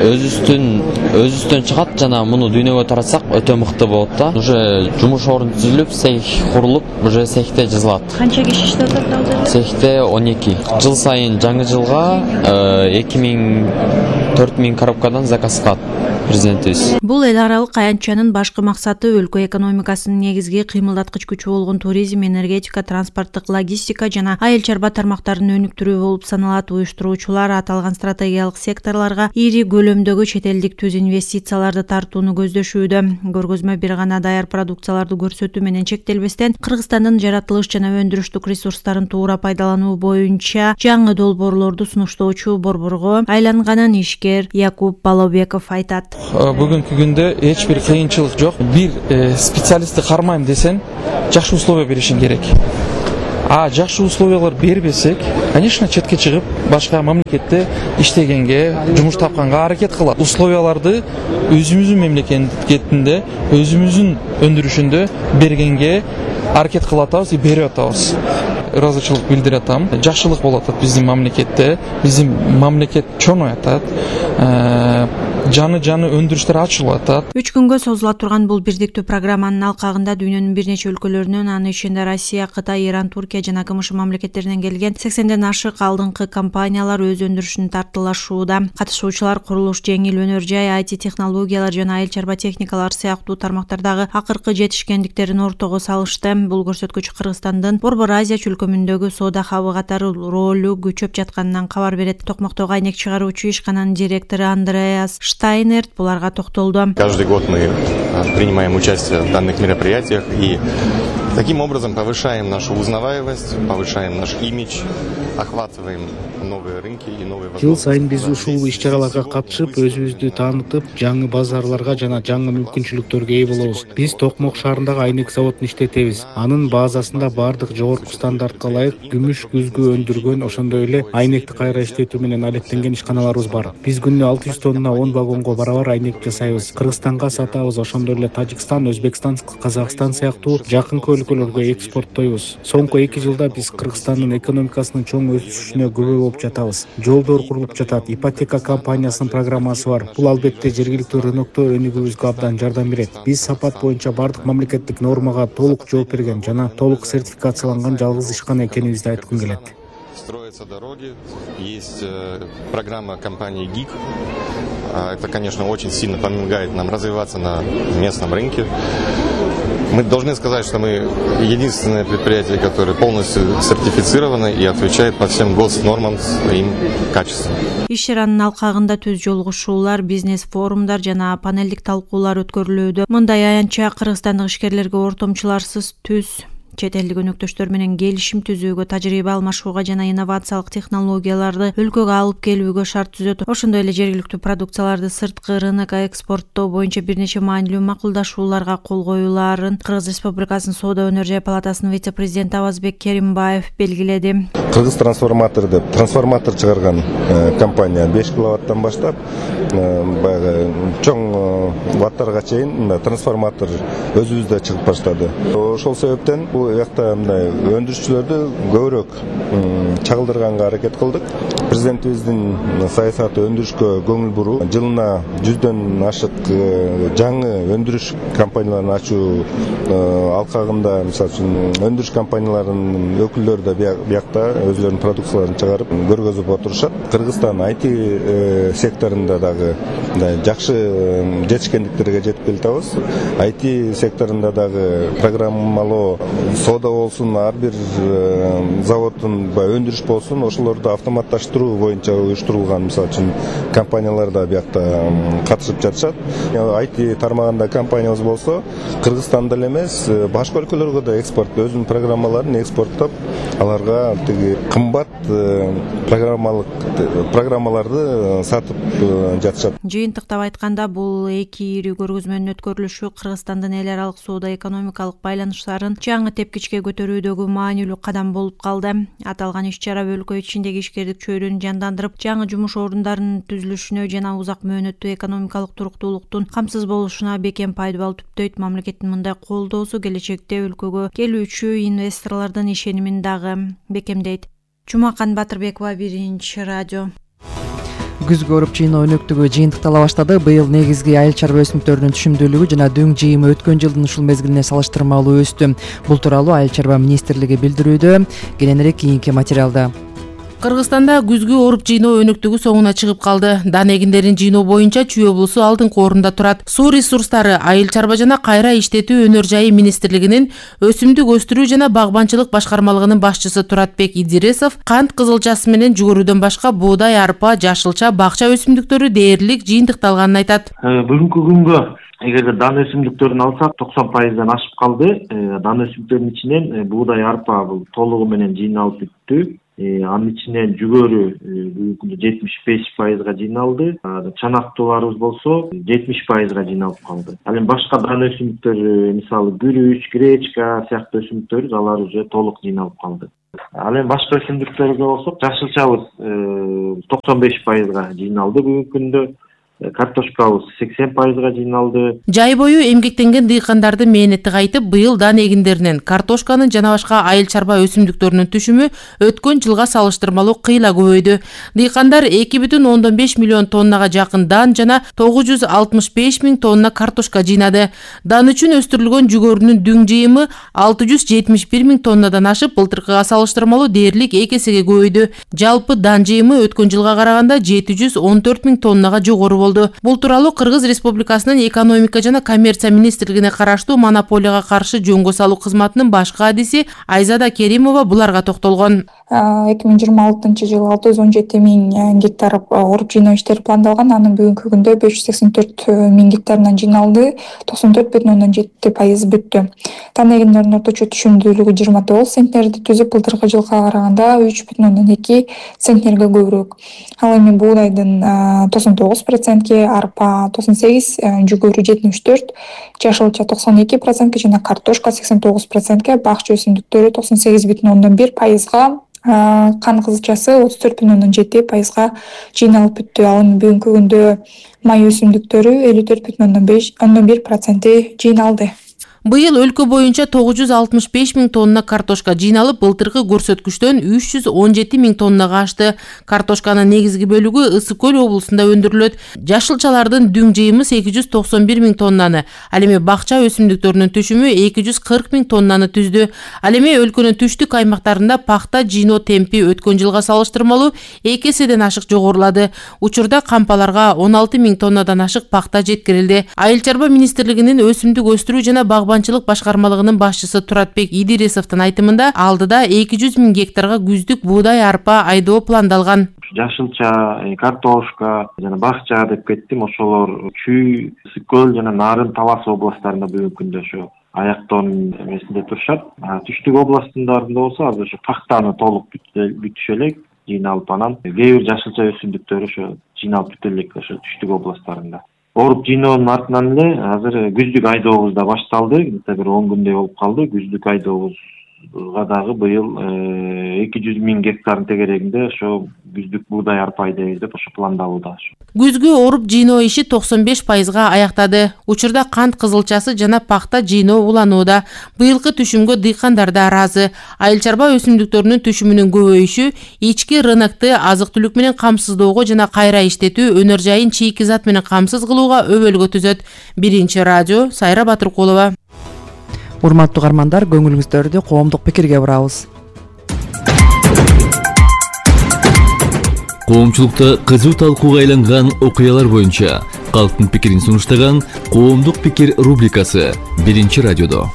өзүбүздөн чыгат жана муну дүйнөгө таратсак өтө мыкты болот да. Уже жумуш орун түзүлүп, цех курулуп, уже цехте жазылат. Канча киши иштеп атат? Цехте 12. Жыл сайын жаңы жылга 2000-4000 коробкадан заказ кылат. президентибиз. Бул эл аралык аянтчанын башкы максаты өлкө экономикасынын негизги кыймылдаткыч күчү болгон туризм, энергетика, транспорттук, логистика жана айыл чарба тармактарын өнүктүрүү болуп саналат. Уюштуруучулар аталган стратегиялык секторлорго ири көлөмдөгү чет элдик түз инвестицияларды тартууну көздөшүүдө. Көргөзмө бир гана даяр продукцияларды көрсөтүү менен чектелбестен, Кыргызстандын жаратылыш жана өндүрүштүк ресурстарын туура пайдалануу боюнча жаңы долбоорлорду сунуштоочу борборго айланганын ишкер Якуб Балобеков айтат. Бүгүнкү күндө эч бир кыйынчылык жок. Бир специалистти кармайм десең, жакшы условия беришиң керек. Жакшы условиялар бербесек, конечно, четке чыгып, башка мамлекетте иштегенге, жумуш тапканга аракет кылат. Условияларды өзүбүздүн мамлекетинде, өзүбүздүн өндүрүшүндө бергенге аракет кылып атабыз, берип атабыз. Ыраазычылык билдирип атам. Жакшылык болуп атат биздин мамлекетте. Биздин мамлекет чоңоюп атат. Жаны өндүрүштөр ачылып атат. 3 күнгө созула турган бул бирдиктүү программанын алкагында дүйнөнүн бир нече өлкөлөрүнөн, анын ичинде Россия, Кытай, Иран, Туркия жана КМШ мамлекеттеринен келген 80ден ашык алдыңкы компаниялар өз өндүрүшүн тартылашууда. Катышуучулар курулуш, жеңил өнөр жай, IT технологиялар жана айыл чарба техникалар сыяктуу тармактардагы акыркы жетишкендиктерин ортого салышты. Бул көрсөткүч Кыргызстандын Борбор Азия чөлкөмүндөгү соода хабы катары ролу күчөп жатканынан кабар берет. Токмоктогу айнек чыгаруучу ишкананын директору Андреас Штайнерт буларга токтолду. Каждый год мы принимаем участие в данных мероприятиях и таким образом повышаем нашу узнаваемость, повышаем наш имидж, охватываем новые рынки и новые возможности. Жыл сайын биз ушул иш-чараларга катышып, өзүбүздү таанытып, жаңы базарларга жана жаңы мүмкүнчүлүктөргө ээ болобуз. Биз Токмок шаарындагы айнек заводун иштетебиз. Анын базасында бардык жогорку стандартка ылайык күмүш күзгү өндүргөн, ошондой эле айнекти кайра иштетүү менен алектенген ишканаларыбыз бар. Биз күнүнө 600 тонна 10 вагонго барабар айнек жасайбыз. Кыргызстанга сатабыз, ошондой эле Тажикстан, Өзбекстан, Казакстан сыяктуу жакынкы өлкөлөргө экспорттойбуз. Соңку 2 жылда биз Кыргызстандын экономикасынын чоң өсүшүнө күбө болуп жатабыз. Жолдор курулуп жатат, ипотека компаниясынын программасы бар. Бул албетте жергиликтүү рынокто өнүгүүбүзгө абдан жардам берет. Биз сапат боюнча бардык мамлекеттик нормага толук жооп берген жана толук сертификацияланган жалгыз ишкана экенибизди айткым келет. Строятся дороги, есть программа компании ГИК. Это, конечно, очень сильно помогает нам развиваться на местном рынке. Мы должны сказать, что мы единственное предприятие, которое полностью сертифицировано и отвечает по всем госнормам своим качествам. Иш-чаранын алкагында түз жолугушуулар, бизнес форумдар жана панелдик талкуулар өткөрүлүүдө. Мындай аянтча кыргызстандык ишкерлерге ортомчуларсыз түз чет элдик өнөктөштөр менен келишим түзүүгө, тажрыйба алмашууга жана инновациялык технологияларды өлкөгө алып келүүгө шарт түзөт. Ошондой эле жергиликтүү продукцияларды сырткы рынокко экспорттоо боюнча бир нече маанилүү макулдашууларга кол коюлаарын Кыргыз Республикасынын Соода өнөр жай палатасынын вице-президенти Авазбек Керимбаев белгиледи. Кыргыз трансформатор деп трансформатор чыгарган компания 5 киловаттан баштап баягы чоң ваттарга чейин трансформатор өзүбүздө чыгып баштады. Ошол себептен бул жакта мындай өндүрүшчүлөрдү көбүрөөк чагылдырганга аракет кылдык. Президентибиздин саясаты өндүрүшкө көңүл буруу. Жылына 100дөн ашык жаңы өндүрүш компанияларын ачуу алкагында, мисалы үчүн өндүрүш компанияларынын өкүлдөрү да биякта өзлөрүнүн продукцияларын чыгарып көргөзүп отурушат. Кыргызстан IT секторунда дагы жакшы жетишкендиктерге жетип келатабыз. IT секторунда дагы программалоо, соода болсун, ар бир заводдун өндүрүш болсун, ошолорду автоматташтыруу боюнча уюштурулган, мисалы үчүн компаниялар да биякта катышып жатышат. IT тармагында компаниябыз болсо, Кыргызстанда эле эмес, башка өлкөлөргө да экспорт, өзүнүн программаларын экспорттоп, аларга тиги кымбат программаларды сатып жатышат. Жыйынтыктап айтканда, бул эки ири көргөзмөнүн өткөрүлүшү Кыргызстандын эл аралык соода экономикалык байланыштарын жаңы тепкичке көтөрүүдөгү маанилүү кадам болуп калды. Аталган иш-чара өлкө ичиндеги ишкердик чөйрөнү жандандырып, жаңы жумуш орундарынын түзүлүшүнө жана узак мөөнөттүү экономикалык туруктуулуктун камсыз болушуна бекем пайдабал түптөйт. Мамлекеттин мындай колдоосу келечекте өлкөгө келүүчү инвесторлордун ишенимин дагы бекемдейт. Жумакан Батырбекова, Биринчи радио. Күзгү оруп жыйноо өнөктүгү жыйынтыктала баштады. Быйыл негизги айыл чарба өсүмдүктөрүнүн түшүмдүүлүгү жана дөң жыйымы өткөн жылдын ушул мезгилине салыштырмалуу өстү. Бул тууралуу Айыл чарба министрлиги билдирүүдө. Кененирээк кийинки материалда. Кыргызстанда күзгү оруп жыйноо өнүктүгү соңуна чыгып калды. Дан эгиндерин жыйноо боюнча Чүй облусу алдыңкы орунда турат. Суу ресурстары, айыл чарба жана кайра иштетүү өнөр жайы министрлигинин өсүмдүк өстүрүү жана багбанчылык башкармалыгынын башчысы Туратбек Идиресов кант кызылчасы менен жүгөрүдөн башка буудай, арпа, жашылча, бакча өсүмдүктөрү дээрлик жыйынтыкталганын айтат. Бүгүнкү күнгө эгерде дан өсүмдүктөрүн алсак 90%дан ашып калды. Дан өсүмдүктөрүнүн ичинен буудай, арпа бул толугу менен жыйналып бүттү. Анын ичинен жүгөрү бүгүнкү күндө 75%га жыйналды. Чанактууларыбыз болсо 70%га жыйналып калды. Ал эми башка дан өсүмдүктөр, мисалы күрүч, гречка сыяктуу өсүмдүктөр алар уже толук жыйналып калды. Ал эми башка өсүмдүктөргө болсок, жашылчабыз 95%га жыйналды бүгүнкү күндө. Картошкабыз 80%га жыйналды. Жай бою эмгектенген дыйкандардын мээнети кайтып, быйыл дан эгиндеринен картошканын жана башка айыл чарба өсүмдүктөрүнүн түшүмү өткөн жылга салыштырмалуу кыйла көбөйдү. Дыйкандар 2,5 миллион тоннага жакын дан жана 965 миң тонна картошка жыйнады. Дан үчүн өстүрүлгөн жүгөрүнүн дүң жыйымы 671 миң тоннадан ашып, былтыркыга салыштырмалуу дээрлик 2 эсеге көбөйдү. Жалпы дан жыйымы өткөн жылга караганда 714 миң тоннага жогору болду. Бул тууралуу Кыргыз Республикасынын экономика жана коммерция министрлигине караштуу монополияга каршы жөнгө салуу кызматынын башкы адиси Айзада Керимова буларга токтолгон. 2026 жылы 617 миң гектар оруп жыйноо иштери пландалган. Анын бүгүнкү күндө 584 миң гектарынан жыйналды, 94,7% бүттү. Дан эгиндеринин орточо түшүмдүүлүгү 29 центнерди түзүп, былтыркы жылга караганда 3,2 центнерге көбүрөөк. Ал эми буудайдын 99%, арпа 98, жүгөрү 74, жашылча 92% жана картошка 89%, бакча өсүмдүктөрү 98,1%, кан кызылчасы 34,7%га жыйналып бүттү. Ал эми бүгүнкү күндө май өсүмдүктөрү 54,1% жыйналды. Быйыл өлкө боюнча 965 миң тонна картошка жыйналып, былтыркы көрсөткүчтөн 317 миң тоннага ашты. Картошканын негизги бөлүгү Ысык Көл облусунда өндүрүлөт. Жашылчалардын дүң жыйымы 891 миң тоннаны, ал эми бакча өсүмдүктөрүнүн түшүмү 240 миң тоннаны түздү. Ал эми өлкөнүн түштүк аймактарында пахта жыйноо темпи өткөн жылга салыштырмалуу 2 эседен ашык жогорулады. Учурда кампаларга 16 миң тоннадан ашык пахта жеткирилди. Айыл чарба министрлигинин өсүмдүк өстүрүү жана багбанчылык башкармалыгынын башчысы Туратбек Идиресовдун айтымында, алдыда 200 миң гектарга күздүк буудай, арпа айдоо пландалган. Жашылча, картошка жана бакча деп кеттим. Ошолор Чүй, Ысык Көл жана Нарын, Талас областтарында бүгүнкү күндө ошо аяктоонун эмесинде турушат. Түштүк областындарында болсо азыр ошо пахтаны толук бүтүшө элек жыйналып, анан кээ бир жашылча өсүмдүктөр ошо жыйналып бүтө элек ошо түштүк областтарында. Оруп жыйноонун артынан эле азыр күздүк айдообуз да башталды. Бир 10 күндөй болуп калды. Күздүк айдообузга дагы быйыл 200 миң гектардын тегерегинде ошо күздүк буудай, арпа айдайбыз деп ошо пландалууда. Күзгү оруп жыйноо иши 95%га аяктады. Учурда кант кызылчасы жана пахта жыйноо уланууда. Быйылкы түшүмгө дыйкандар да ыраазы. Айыл чарба өсүмдүктөрүнүн түшүмүнүн көбөйүшү ички рынокты азык-түлүк менен камсыздоого жана кайра иштетүү өнөр жайын чийки зат менен камсыз кылууга өбөлгө түзөт. Биринчи радио, Сайра Батыркулова. Урматтуу угармандар, көңүлүңүздөрдү коомдук пикирге бурабыз. Коомчулукта кызуу талкууга айланган окуялар боюнча калктын пикирин сунуштаган Коомдук пикир рубрикасы Биринчи радиодо.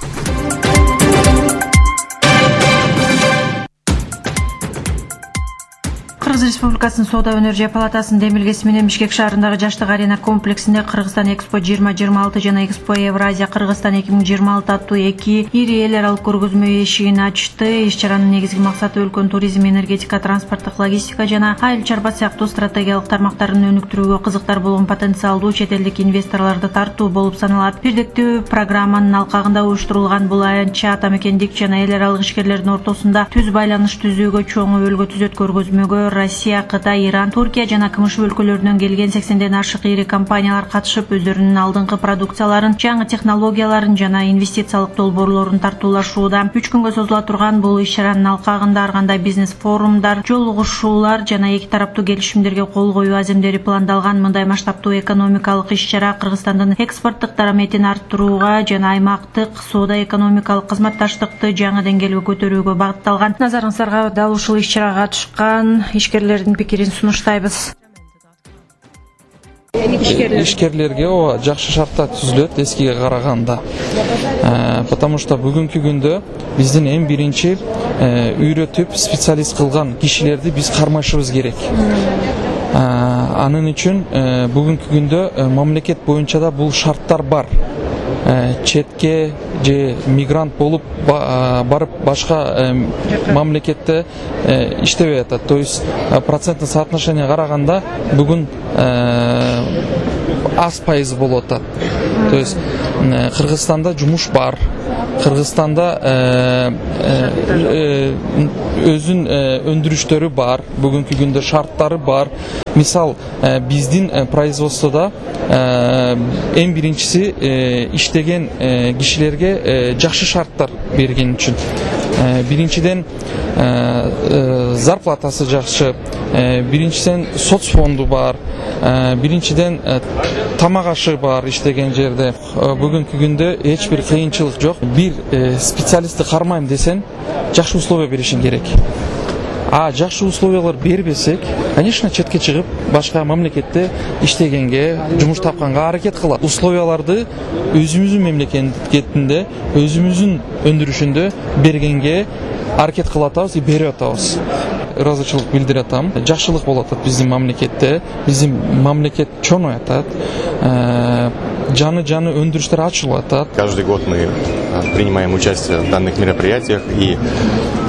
Кыргыз Республикасынын Соода өнөр жай палатасынын демилгеси менен Бишкек шаарындагы Жаштык арена комплексинде Кыргызстан Экспо 2026 жана Экспо Евразия Кыргызстан 2026 аттуу эки ири эл аралык көргөзмө эшигин ачты. Иш-чаранын негизги максаты өлкөнүн туризм, энергетика, транспорттук, логистика жана айыл чарба сыяктуу стратегиялык тармактарын өнүктүрүүгө кызыктар болгон потенциалдуу чет элдик инвесторлорду тартуу болуп саналат. Бирдиктүү программанын алкагында уюштурулган бул аянтча ата мекендик жана эл аралык ишкерлердин ортосунда түз байланыш түзүүгө чоң өбөлгө түзөт. Көргөзмөгө Россия, Кытай, Иран, Туркия жана КМШ өлкөлөрүнөн келген 80ден ашык ири компаниялар катышып, өздөрүнүн алдыңкы продукцияларын, жаңы технологияларын жана инвестициялык долбоорлорун тартуулашууда. 3 күнгө созула турган бул иш-чаранын алкагында ар кандай бизнес форумдар, жолугушуулар жана эки тараптуу келишимдерге кол коюу аземдери пландалган. Мындай масштабтуу экономикалык иш-чара Кыргызстандын экспорттук дараметин арттырууга жана аймактык соода-экономикалык кызматташтыкты жаңы деңгээлге көтөрүүгө багытталган. Назарыңыздарга дал ушул иш-чарага катышкан ишкерлердин пикирин сунуштайбыз. Ишкерлерге жакшы шарттар түзүлөт эскиге караганда. Потому что бүгүнкү күндө биздин эң биринчи үйрөтүп специалист кылган кишилерди биз кармашыбыз керек. Анын үчүн бүгүнкү күндө мамлекет боюнча да бул шарттар бар. Четке же мигрант болуп барып башка мамлекетте иштебей атат. То есть проценттик соотношение караганда бүгүн аз пайыз болуп атат. То есть Кыргызстанда жумуш бар. Кыргызстанда өзүн өндүрүштөрү бар. Бүгүнкү күндө шарттары бар. Мисал, биздин производстводо эң биринчиси иштеген кишилерге жакшы шарттар берген үчүн. Биринчиден зарплатасы жакшы, биринчиден соцфонду бар, биринчиден тамак ашы бар иштеген жерде. Бүгүнкү күндө эч бир кыйынчылык жок. Бир специалистти кармайм десең, жакшы условия беришиң керек. Жакшы условиялар бербесек, конечно, четке чыгып, башка мамлекетте иштегенге, жумуш тапканга аракет кылат. Условияларды өзүбүздүн мемлекетинде, өзүбүздүн өндүрүшүндө бергенге аракет кылып атабыз, берип атабыз. Ыраазычылык билдирип атам. Жакшылык болуп атат биздин мамлекетте. Биздин мамлекет чоңоюп атат. Жаны өндүрүштөр ачылып атат. Каждый год мы принимаем участие в данных мероприятиях и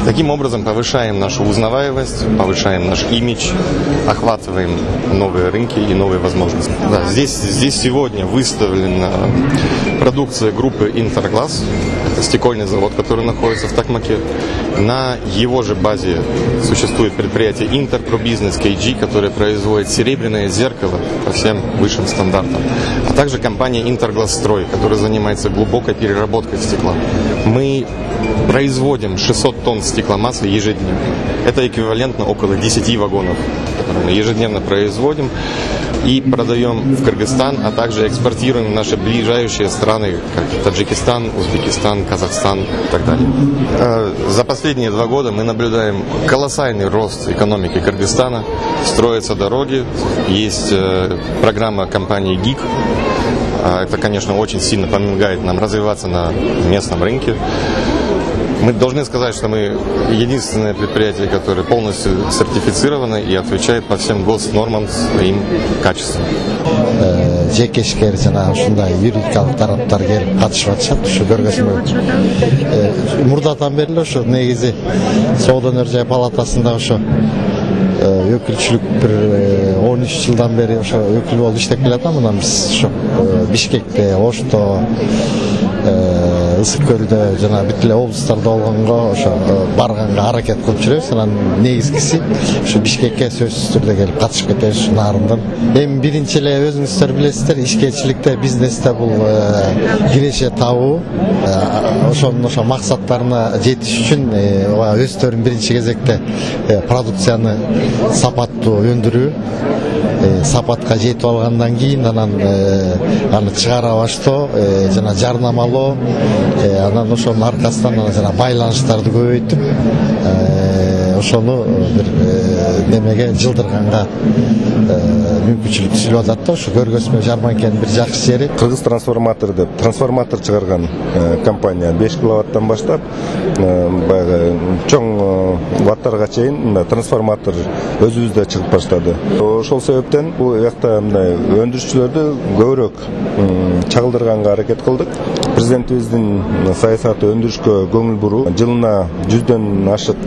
таким образом повышаем нашу узнаваемость, повышаем наш имидж, охватываем новые рынки и новые возможности. Да, здесь сегодня выставлена продукция группы Интерглаз. Это стекольный завод, который находится в Токмаке. На его же базе существует предприятие Интерпробизнес KG, которое производит серебряное зеркало по всем высшим стандартам. А также компания Интерглазстрой, которая занимается глубокой переработкой стекла. Мы производим 600 тонн стекломассы ежедневно. Это эквивалентно около 10 вагонов, которые мы ежедневно производим и продаем в Кыргызстан, а также экспортируем в наши ближайшие страны, как Таджикистан, Узбекистан, Казахстан и так далее. За последние 2 года мы наблюдаем колоссальный рост экономики Кыргызстана. Строятся дороги, есть программа компании ГИК. Это, конечно, очень сильно помогает нам развиваться на местном рынке. Мы должны сказать, что мы единственное предприятие, которое полностью сертифицировано и отвечает по всем госнормам своим качествам. Жекешкер жана ушундай юридикалык тараптар келип катышып атышат. Ушу көргөзмө мурдатан бери ошо негизи Соода өнөр жай палатасында ошо өкүлчүлүк бир 13 жылдан бери ошо өкүл болуп иштеп келатам. Мына биз ошо Бишкекте, Ошто, Ысык көлдө жана бүт эле облустарда болгонго ошо барганга аракет кылып жүрөбүз. Анан негизгиси ушу Бишкекке сөзсүз түрдө келип катышып кетебиз ушу нарындан. Эми биринчи эле өзүңүздөр билесиздер, ишкерчиликте, бизнесте бул киреше табуу. Ошонун максаттарына жетиш үчүн өздөрүн биринчи кезекте продукцияны сапаттуу өндүрүү, сапатка жетип алгандан кийин анан аны чыгара баштоо жана жарнамалоо, анан ошонун аркасынан жана байланыштарды көбөйтүп ошону бир немеге жылдырганга мүмкүнчүлүк түзүлүп атат да. Ошо көргөзмө жарманкенин бир жакшы жери. Кыргыз трансформатор деп трансформатор чыгарган компания 5 киловаттан баштап баягы чоң ваттарга чейин трансформатор өзүбүздө чыгып баштады. Ошол себептен бул жакта мындай өндүрүшчүлөрдү көбүрөөк чагылдырганга аракет кылдык. президентибиздин саясаты өндүрүшкө көңүл буруу, жылына 100дөн ашык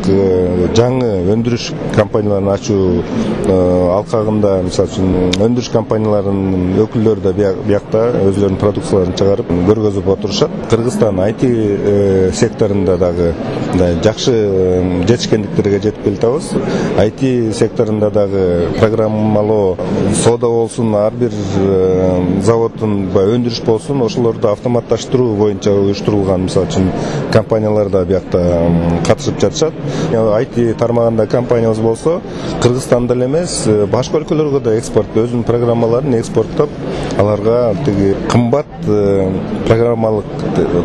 жаңы өндүрүш компанияларын ачуу алкагында, мисалы үчүн өндүрүш компанияларынын өкүлдөрү да биякта өзлөрүнүн продукцияларын чыгарып көргөзүп отурушат. Кыргызстан IT секторунда дагы жакшы жетишкендиктерге жетип келатабыз. IT секторунда дагы программалоо, соода болсун, ар бир заводдун өндүрүш болсун, ошолорду автоматташтыруу боюнча уюштурулган, мисалы үчүн компаниялар да биякта катышып жатышат. IT тармагында компаниябыз болсо, Кыргызстанда эле эмес, башка өлкөлөргө да экспорт, өзүнүн программаларын экспорттоп, аларга тиги кымбат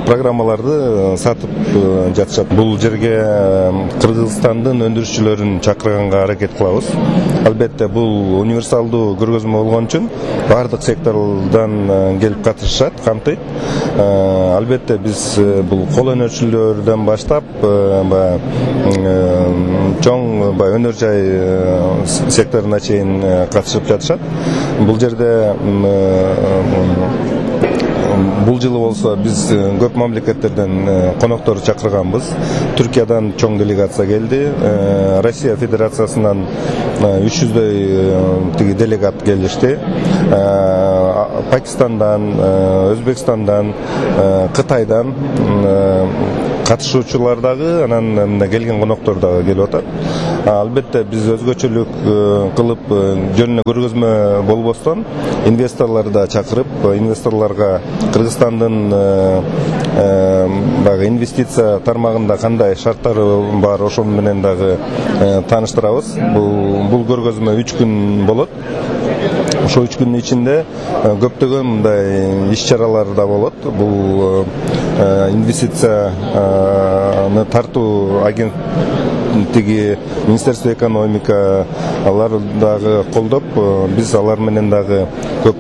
программаларды сатып жатышат. Бул жерге Кыргызстандын өндүрүшчүлөрүн чакырганга аракет кылабыз. Албетте бул универсалдуу көргөзмө болгон үчүн бардык сектордан келип катышышат, камтыйт. Албетте биз бул кол өнөрчүлөрдөн баштап чоң өнөр жай секторуна чейин катышып жатышат. Бул жерде бул жылы болсо биз көп мамлекеттерден коноктор чакырганбыз. Түркиядан чоң делегация келди. Россия Федерациясынан 300дөй тиги делегат келишти. Пакистандан, Өзбекстандан, Кытайдан катышуучулар дагы, анан келген коноктор дагы келип атат. Албетте биз өзгөчөлүк кылып жөнүнө көргөзмө болбостон инвесторлорду да чакырып, инвесторлорго Кыргызстандын баягы инвестиция тармагында кандай шарттары бар, ошол менен дагы тааныштырабыз. Бул көргөзмө 3 күн болот. Ошол 3 күндүн ичинде көптөгөн мындай иш-чаралар да болот. Бул инвестицияны тартуу агенттиги, Министерство экономика алар дагы колдоп, биз алар менен дагы көп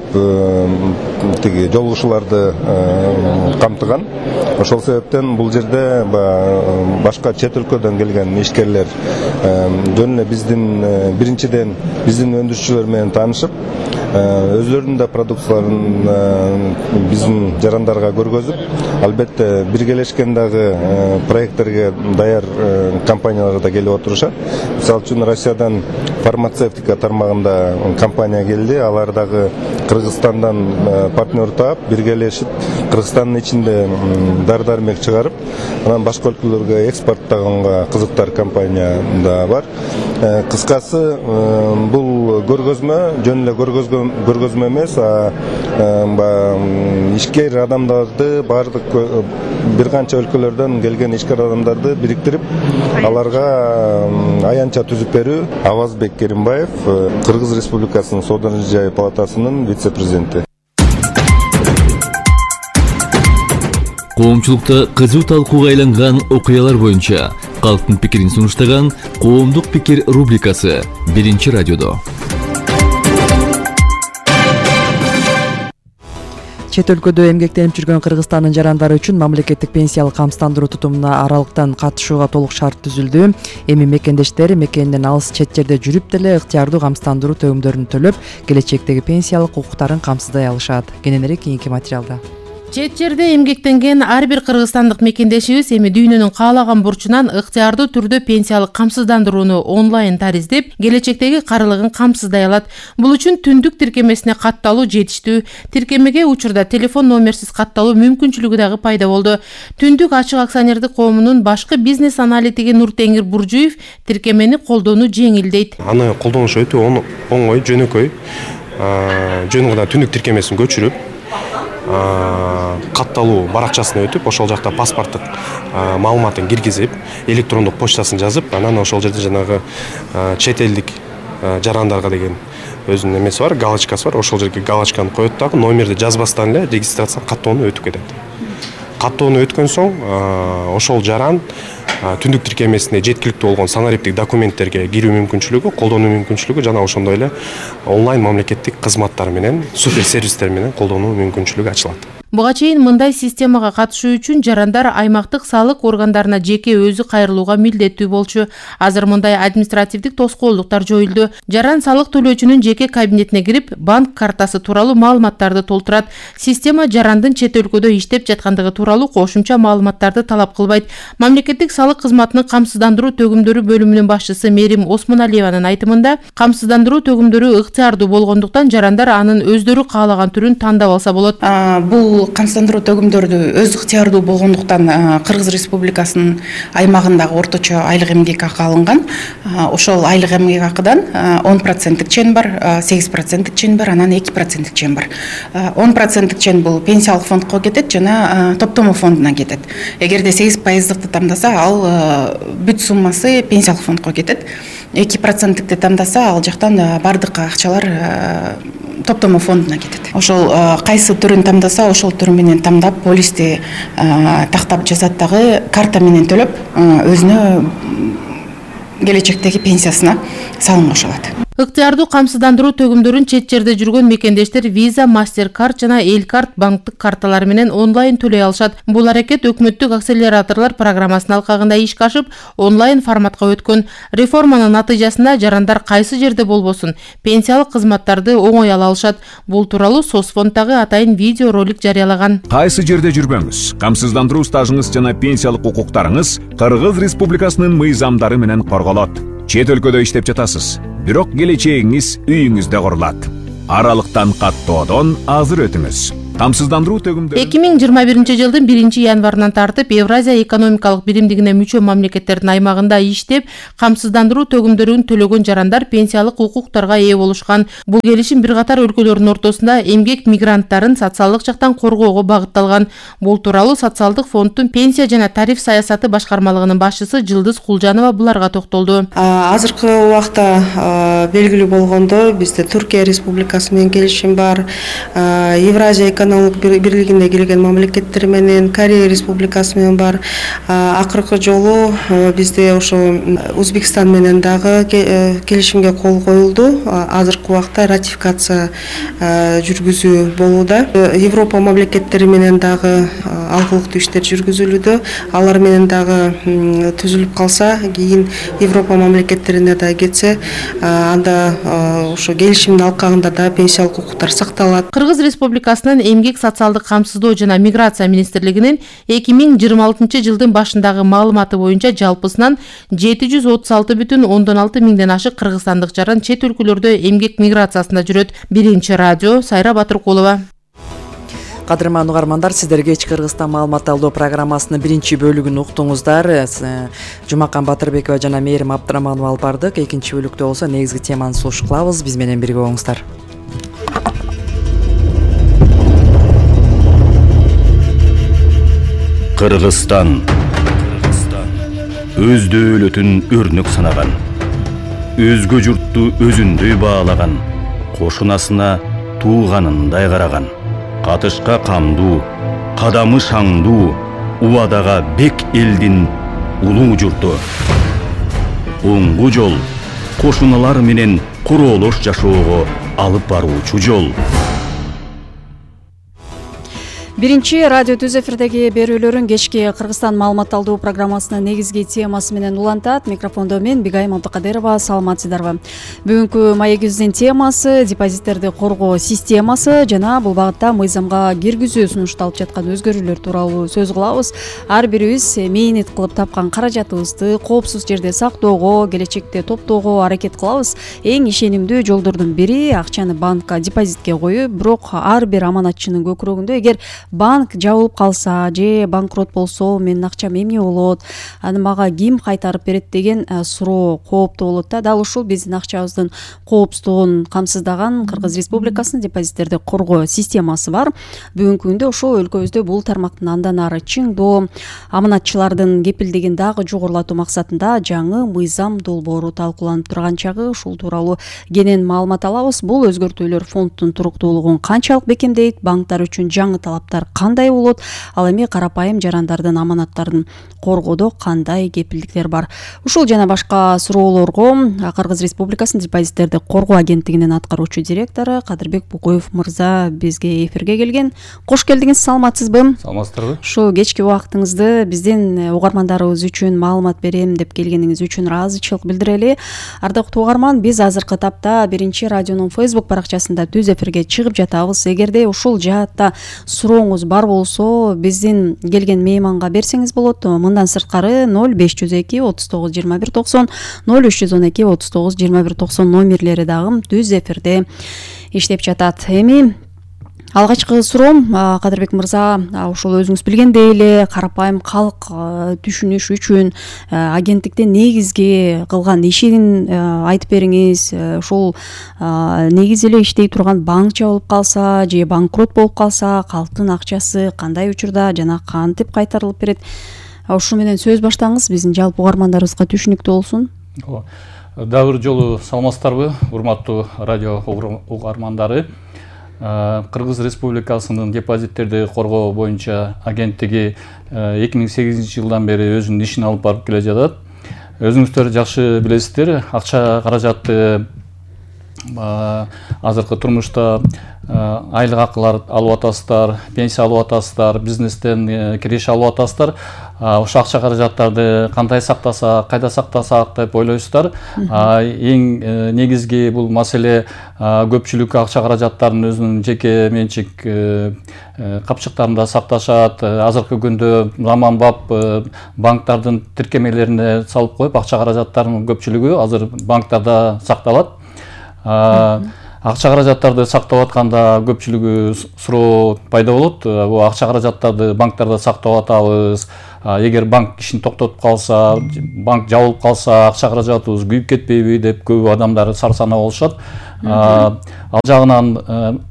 тиги жолугушууларды камтыган. Ошол себептен бул жерде башка чет өлкөдөн келген ишкерлер жөн эле биздин биринчиден биздин өндүрүшчүлөр менен таанышып, өзлөрүнүн да продукцияларын биздин жарандарга көргөзүп, албетте биргелешкен дагы проекттерге даяр компаниялар да келип отурушат. Мисалы үчүн Россиядан фармацевтика тармагында компания келди. Алар дагы Кыргызстандан партнер таап, биргелешип, Кыргызстандын ичинде дары-дармек чыгарып, анан башка өлкөлөргө экспорттаганга кызыктар компания да бар. Кыскасы, бул көргөзмө жөн эле көргөзмө эмес, ишкер адамдарды, бардык бир канча өлкөлөрдөн келген ишкер адамдарды бириктирип, аларга аянтча түзүп берүү. Авазбек Керимбаев, Кыргыз Республикасынын Соода жай палатасынын вице-президенти. Коомчулукта кызуу талкууга айланган окуялар боюнча калктын пикирин сунуштаган Коомдук пикир рубрикасы 1 радиодо. Чет өлкөдө эмгектенип жүргөн Кыргызстандын жарандары үчүн мамлекеттик пенсиялык камсыздандыруу тутумуна аралыктан катышууга толук шарт түзүлдү. Эми мекендештер мекенинен алыс чет жерде жүрүп деле ыктыярдуу камсыздандыруу төлөмдөрүн төлөп, келечектеги пенсиялык укуктарын камсыздай алышат. Кененирээк кийинки материалда. Чет жерде эмгектенген ар бир кыргызстандык мекендешибиз эми дүйнөнүн каалаган бурчунан ыктыярдуу түрдө пенсиялык камсыздандырууну онлайн тариздеп, келечектеги карылыгын камсыздай алат. Бул үчүн түндүк тиркемесине катталуу жетиштүү. Тиркемеге учурда телефон номерсиз катталуу мүмкүнчүлүгү дагы пайда болду. Түндүк ачык акционердик коомунун башкы бизнес аналитиги Нуртеңир Буржуев тиркемени колдонуу жеңилдейт. Аны колдонуш өтө оңой, жөнөкөй. Жөн гана түндүк тиркемесин көчүрүп, катталуу баракчасына өтүп, ошол жакта паспорттук маалыматын киргизип, электрондук почтасын жазып, анан ошол жерде жанагы чет элдик жарандарга деген өзүнүн эмеси бар, галочкасы бар. Ошол жерге галочканы коет дагы, номерди жазбастан эле регистрация каттоону өтүп кетет. Каттоону өткөн соң ошол жаран түндүк тиркемесине жеткиликтүү болгон санариптик документтерге кирүү мүмкүнчүлүгү, колдонуу мүмкүнчүлүгү жана ошондой эле онлайн мамлекеттик кызматтар менен, супер сервистер менен колдонуу мүмкүнчүлүгү ачылат. Буга чейин мындай системага катышуу үчүн жарандар аймактык салык органдарына жеке өзү кайрылууга милдеттүү болчу. Азыр мындай административдик тоскоолдуктар жоюлду. Жаран салык төлөөчүнүн жеке кабинетине кирип, банк картасы тууралуу маалыматтарды толтурат. Система жарандын чет өлкөдө иштеп жаткандыгы тууралуу кошумча маалыматтарды талап кылбайт. Мамлекеттик салык кызматынын камсыздандыруу төгүмдөрү бөлүмүнүн башчысы Мерим Осмоналиеванын айтымында, камсыздандыруу төгүмдөрү ыктыярдуу болгондуктан жарандар анын өздөрү каалаган түрүн тандап алса болот. Бул камсыздандыруу төгүмдөрдү өз ыктыярдуу болгондуктан Кыргыз Республикасынын аймагындагы орточо айлык эмгек акы алынган. Ошол айлык эмгек акыдан 10% чен бар, 8% чен бар, анан 2% чен бар. 10% чен бул пенсиялык фондко кетет жана топтомо фондуна кетет. Эгерде 8%-ды тандаса, ал бүт суммасы пенсиялык фондко кетет. 2%-ди тандаса, ал жактан бардык акчалар топтомо фондуна кетет. Ошол кайсы түрүн тандаса, ошол түрү менен тандап, полисти тактап жазат дагы, карта менен төлөп, өзүнө келечектеги пенсиясына салым кошо алат. Ыктыярдуу камсыздандыруу төгүмдөрүн чет жерде жүргөн мекендештер Visa, MasterCard жана Элкарт банктык карталары менен онлайн төлөй алышат. Бул аракет өкмөттүк акселераторлор программасынын алкагында ишке ашып, онлайн форматка өткөн. Реформанын натыйжасында жарандар кайсы жерде болбосун пенсиялык кызматтарды оңой ала алышат. Бул тууралуу Соцфонддагы атайын видео ролик жарыялаган. Кайсы жерде жүрбөңүз, камсыздандыруу стажыңыз жана пенсиялык укуктарыңыз Кыргыз Республикасынын мыйзамдары менен корголот. Чет өлкөдө иштеп жатасыз, бирок келечегиңиз үйүңүздө курулат. Аралыктан каттоодон азыр өтүңүз. Камсыздандыруу төгүмдөрү 2021 жылдын 1-январынан тартып Евразия экономикалык биримдигине мүчө мамлекеттердин аймагында иштеп, камсыздандыруу төгүмдөрүн төлөгөн жарандар пенсиялык укуктарга ээ болушкан. Бул келишим бир катар өлкөлөрдүн ортосунда эмгек мигранттарын социалдык жактан коргоого багытталган. Бул тууралуу Социалдык фонддун пенсия жана тариф саясаты башкармалыгынын башчысы Жылдыз Кулжанова буларга токтолду. Азыркы убакта белгилүү болгондо бизде Түркия Республикасы менен келишим бар, Евразия экономикалык бирлигине кирген мамлекеттер менен, Корея Республикасы менен бар. Акыркы жолу бизде ошо Өзбекстан менен дагы келишимге кол коюлду. Азыркы убакта ратификация жүргүзүү болууда. Европа мамлекеттери менен дагы алгылыктуу иштер жүргүзүлүүдө. Алар менен дагы түзүлүп калса, кийин Европа мамлекеттерине да кетсе, анда ошо келишимдин алкагында да пенсиялык укуктар сакталат. Кыргыз Республикасынын эмгек социалдык камсыздоо жана миграция министрлигинин 2026 жылдын башындагы маалыматы боюнча жалпысынан 736,6 миңден ашык кыргызстандык жаран чет өлкөлөрдө эмгек миграциясында жүрөт. Биринчи радио Сайра Батыркулова. Кадырман угармандар, сиздер кечки Кыргызстан маалымат алуу программасынын биринчи бөлүгүн уктуңуздар. Жумакан Батырбекова жана Мээрим Абдыраманова алып бардык. Экинчи бөлүктө болсо негизги теманы сулуш кылабыз. Биз менен бирге болуңуздар. Кыргызстан өз дөөлөтүн өрнөк санаган, өзгө журтту өзүндөй баалаган, кошунасына тууганындай караган, катышка камдуу, кадамы шаңдуу, убадага бек элдин улуу журту. Оңгу жол кошуналар менен куроолош жашоого алып баруучу жол. Биринчи радио түз эфирдеги берүүлөрүн кечки Кыргызстан маалымат алуу программасынын негизги темасы менен улантат. Микрофондо мен Бигайым Абдыкадырова. Саламатсыздарбы? Бүгүнкү маегибиздин темасы депозиттерди коргоо системасы жана бул багытта мыйзамга киргизүү сунушталып жаткан өзгөрүүлөр тууралуу сөз кылабыз. Ар бирибиз мээнет кылып тапкан каражатыбызды коопсуз жерде сактоого, келечекте топтоого аракет кылабыз. Эң ишенимдүү жолдордун бири акчаны банкка депозитке коюу. Бирок ар бир аманатчынын көкүрөгүндө эгер банк жабылып калса же банкрот болсо менин акчам эмне болот, аны мага ким кайтарып берет деген суроо кооптуу болот да. Дал ушул биздин акчабыздын коопсуздугун камсыздаган Кыргыз Республикасынын депозиттерди коргоо системасы бар. Бүгүнкү күндө ошол өлкөбүздө бул тармактын андан ары чыңдоо, аманатчылардын кепилдигин дагы жогорулатуу максатында жаңы мыйзам долбоору талкууланып турган чагы ушул тууралуу кенен маалымат алабыз. Бул өзгөртүүлөр фонддун туруктуулугун канчалык бекемдейт, банктар үчүн жаңы талаптар шарттар кандай болот, ал эми карапайым жарандардын аманаттарын коргоодо кандай кепилдиктер бар? Ушул жана башка суроолорго Кыргыз Республикасынын депозиттерди коргоо агенттигинин аткаруучу директору Кадырбек Букоев мырза бизге эфирге келген. Кош келдиңиз, саламатсызбы? Саламатсыздарбы? Ушу кечки убактыңызды биздин угармандарыбыз үчүн маалымат берем деп келгениңиз үчүн ыраазычылык билдирели. Ардактуу угарман, биз азыркы тапта Биринчи радионун Facebook баракчасында түз эфирге чыгып жатабыз. Эгерде ушул жаатта сурооңуз бар болсо, биздин келген мейманга берсеңиз болот. Мындан сырткары 0502 39 21 90 0312 39 21 90 номерлери дагы түз эфирде иштеп жатат. Эми алгачкы суроом, Кадырбек мырза, ушул өзүңүз билгендей эле карапайым калк түшүнүш үчүн агенттиктин негизги кылган ишин айтып бериңиз. Ушул негизи эле иштей турган банк жабылып калса же банкрот болуп калса, калктын акчасы кандай учурда жана кантип кайтарылып берет? Ушу менен сөз баштаңыз, биздин жалпы угармандарыбызга түшүнүктүү болсун. Дагы бир жолу саламатсыздарбы, урматтуу радио угармандары. Кыргыз Республикасынын депозиттерди коргоо боюнча агенттиги 2008-жылдан бери өзүнүн ишин алып барып келе жатат. Өзүңүздөр жакшы билесиздер, акча каражатты азыркы турмушта айлык акылар алып атасыздар, пенсия алып атасыздар, бизнестен кириш алып атасыздар. Ошол акча каражаттарды кандай сактасак, кайда сактасак деп ойлойсуздар. Эң негизги бул маселе көпчүлүк акча каражаттарын өзүнүн жеке менчик капчыктарында сакташат. Азыркы күндө заманбап банктардын тиркемелерине салып коюп, акча каражаттарынын көпчүлүгү азыр банктарда сакталат. Акча каражаттарды сактап атканда көпчүлүгү суроо пайда болот. Бул акча каражаттарды банктарда сактап атабыз. Эгер банк ишин токтотуп калса, банк жабылып калса, акча каражатыбыз күйүп кетпейби деп көп адамдар сарсанаа болушат. Ал жагынан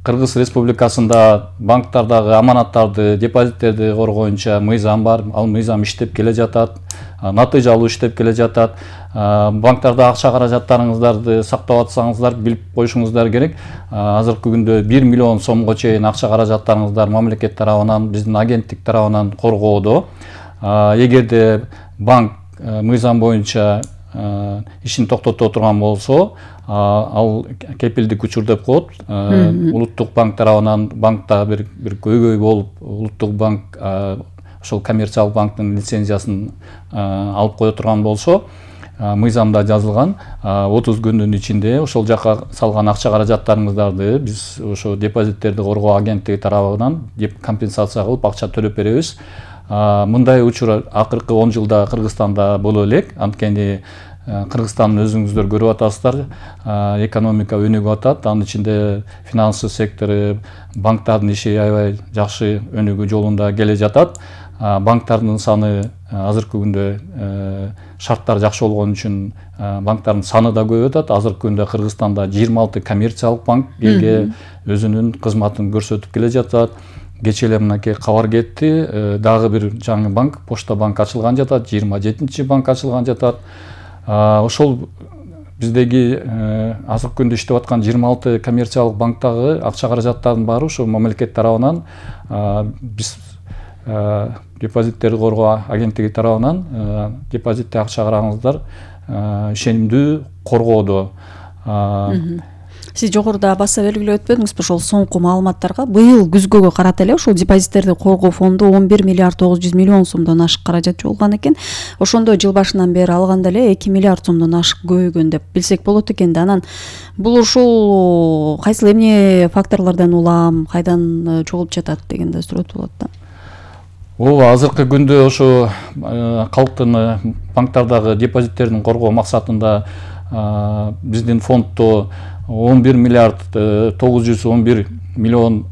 Кыргыз Республикасында банктардагы аманаттарды, депозиттерди коргоюнча мыйзам бар. Ал мыйзам иштеп келе жатат, натыйжалуу иштеп келе жатат. Банктарда акча каражаттарыңыздарды сактап атсаңыздар, билип коюшуңуздар керек. Азыркы күндө 1 миллион сомго чейин акча каражаттарыңыздар мамлекет тарабынан, биздин агенттик тарабынан коргоодо. Эгерде банк мыйзам боюнча ишин токтото турган болсо, ал кепилдик учур деп коет. Улуттук банк тарабынан банкта бир көйгөй болуп, улуттук банк ошол коммерциялык банктын лицензиясын алып кое турган болсо, мыйзамда жазылган 30 күндүн ичинде ошол жака салган акча каражаттарыңыздарды биз ошо депозиттерди коргоо агенттиги тарабынан компенсация кылып акча төлөп беребиз. Мындай учур акыркы 10 жылда Кыргызстанда боло элек. Анткени Кыргызстандын өзүңүздөр көрүп атасыздар, экономика өнүгүп атат. Анын ичинде финансы сектору, банктардын иши аябай жакшы өнүгүү жолунда келе жатат. Банктардын саны азыркы күндө шарттар жакшы болгон үчүн банктардын саны да көбөйүп атат. Азыркы күндө Кыргызстанда 26 коммерциялык банк элге өзүнүн кызматын көрсөтүп келе жатат. Кечээ эле мынакей кабар кетти. Дагы бир жаңы банк, Почта банк ачылган жатат, 27-чи банк ачылган жатат. Ошол биздеги азыркы күндө иштеп аткан 26 коммерциялык банктагы акча каражаттардын баары ошо мамлекет тарабынан биз депозиттерди коргоо агенттиги тарабынан депозитти акча караңыздар ишенимдүү коргоодо. Сиз жогоруда баса белгилеп өтпөдүңүзбү? Ошол соңку маалыматтарга быйыл күзгөгө карата эле ошол депозиттерди коргоо фонду 11 миллиард 900 миллион сомдон ашык каражат жолгон экен. Ошондо жыл башынан бери алганда эле 2 миллиард сомдон ашык көбөйгөн деп билсек болот экен да. Анан бул ушул кайсыл эмне факторлордон улам, кайдан чогулуп жатат дегенде сурот болот да. Ооба, азыркы күндө ошо калктын банктардагы депозиттерин коргоо максатында биздин фонддо 11 миллиард 911 миллион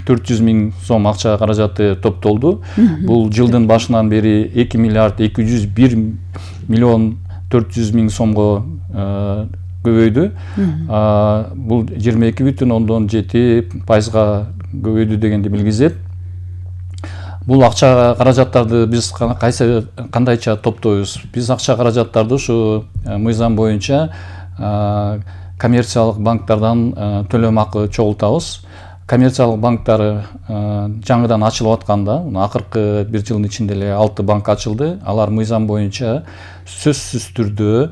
400 миң сом акча каражаты топтолду. Бул жылдын башынан бери 2 миллиард 201 миллион 400 миң сомго көбөйдү. Бул 22,7% көбөйдү дегенди билгизет. Бул акча каражаттарды биз кандайча топтойбуз? Биз акча каражаттарды ушу мыйзам боюнча коммерциялык банктардан төлөм акы чогултабыз. коммерциялык банктар жаңыдан ачылып атканда, акыркы бир жылдын ичинде эле 6 банк ачылды. Алар мыйзам боюнча сөзсүз түрдө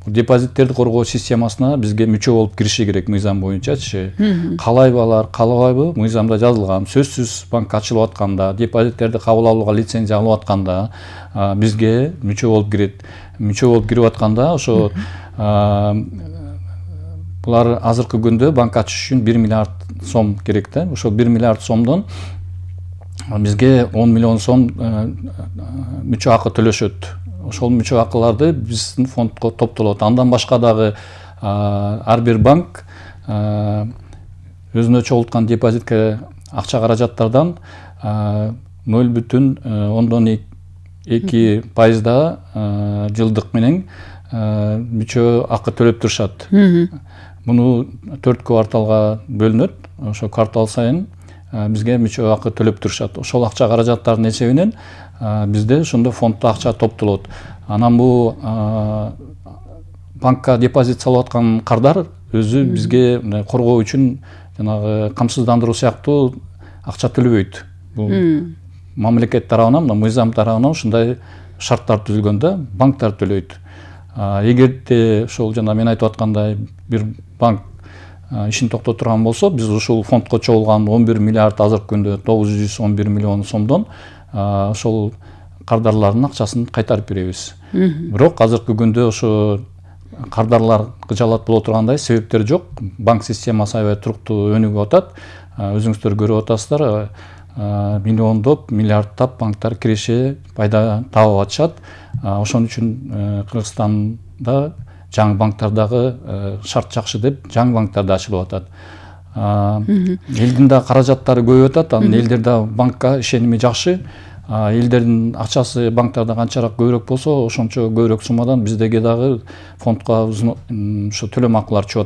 депозиттерди коргоо системасына бизге мүчө болуп кириши керек мыйзам боюнчачы. Калайбы алар, каалабайбы, мыйзамда жазылган. Сөзсүз банк ачылып атканда, депозиттерди кабыл алууга лицензия алып атканда бизге мүчө болуп кирет. Мүчө болуп кирип атканда ошо булар азыркы күндө банк ачыш үчүн 1 миллиард сом керек да. Ошо 1 миллиард сомдон бизге 10 миллион сом мүчө акы төлөшөт. Ошол мүчө акыларды биздин фондко топтолот. Андан башка дагы ар бир банк өзүнө чогулткан депозитке акча каражаттардан 0,2% жылдык менен мүчө акы төлөп турушат. Муну 4 кварталга бөлүнөт. Ошо квартал сайын бизге мүчө акы төлөп турушат. Ошол акча каражаттардын эсебинен бизде ошондо фонддо акча топтолот. Анан бул банкка депозит салып аткан кардар өзү бизге коргоо үчүн жанагы камсыздандыруу сыяктуу акча төлөбөйт. Бул мамлекет тарабынан, мыйзам тарабынан ушундай шарттар түзүлгөн да, банктар төлөйт. Эгерде ошол жана мен айтып аткандай бир банк ишин токтотурган болсо, биз ушул фондко чогулган 11 миллиард азыркы күндө 911 миллион сомдон ошол кардарлардын акчасын кайтарып беребиз. Бирок азыркы күндө ошо кардарлар кыжалат боло тургандай себептер жок. Банк системасы аябай туруктуу өнүгүп атат. Өзүңүздөр көрүп атасыздар, миллиондоп, миллиардтап банктар киреше, пайда таап атышат. Ошон үчүн Кыргызстанда жаңы банктардагы шарт жакшы деп, жаңы банктар да ачылып атат. Элдин да каражаттары көбөйүп атат, анан элдер да банкка ишеними жакшы. Элдердин акчасы банктарда канчараак көбүрөөк болсо, ошончо көбүрөөк суммадан биздеги дагы фондко ошо төлөм акылар чыгып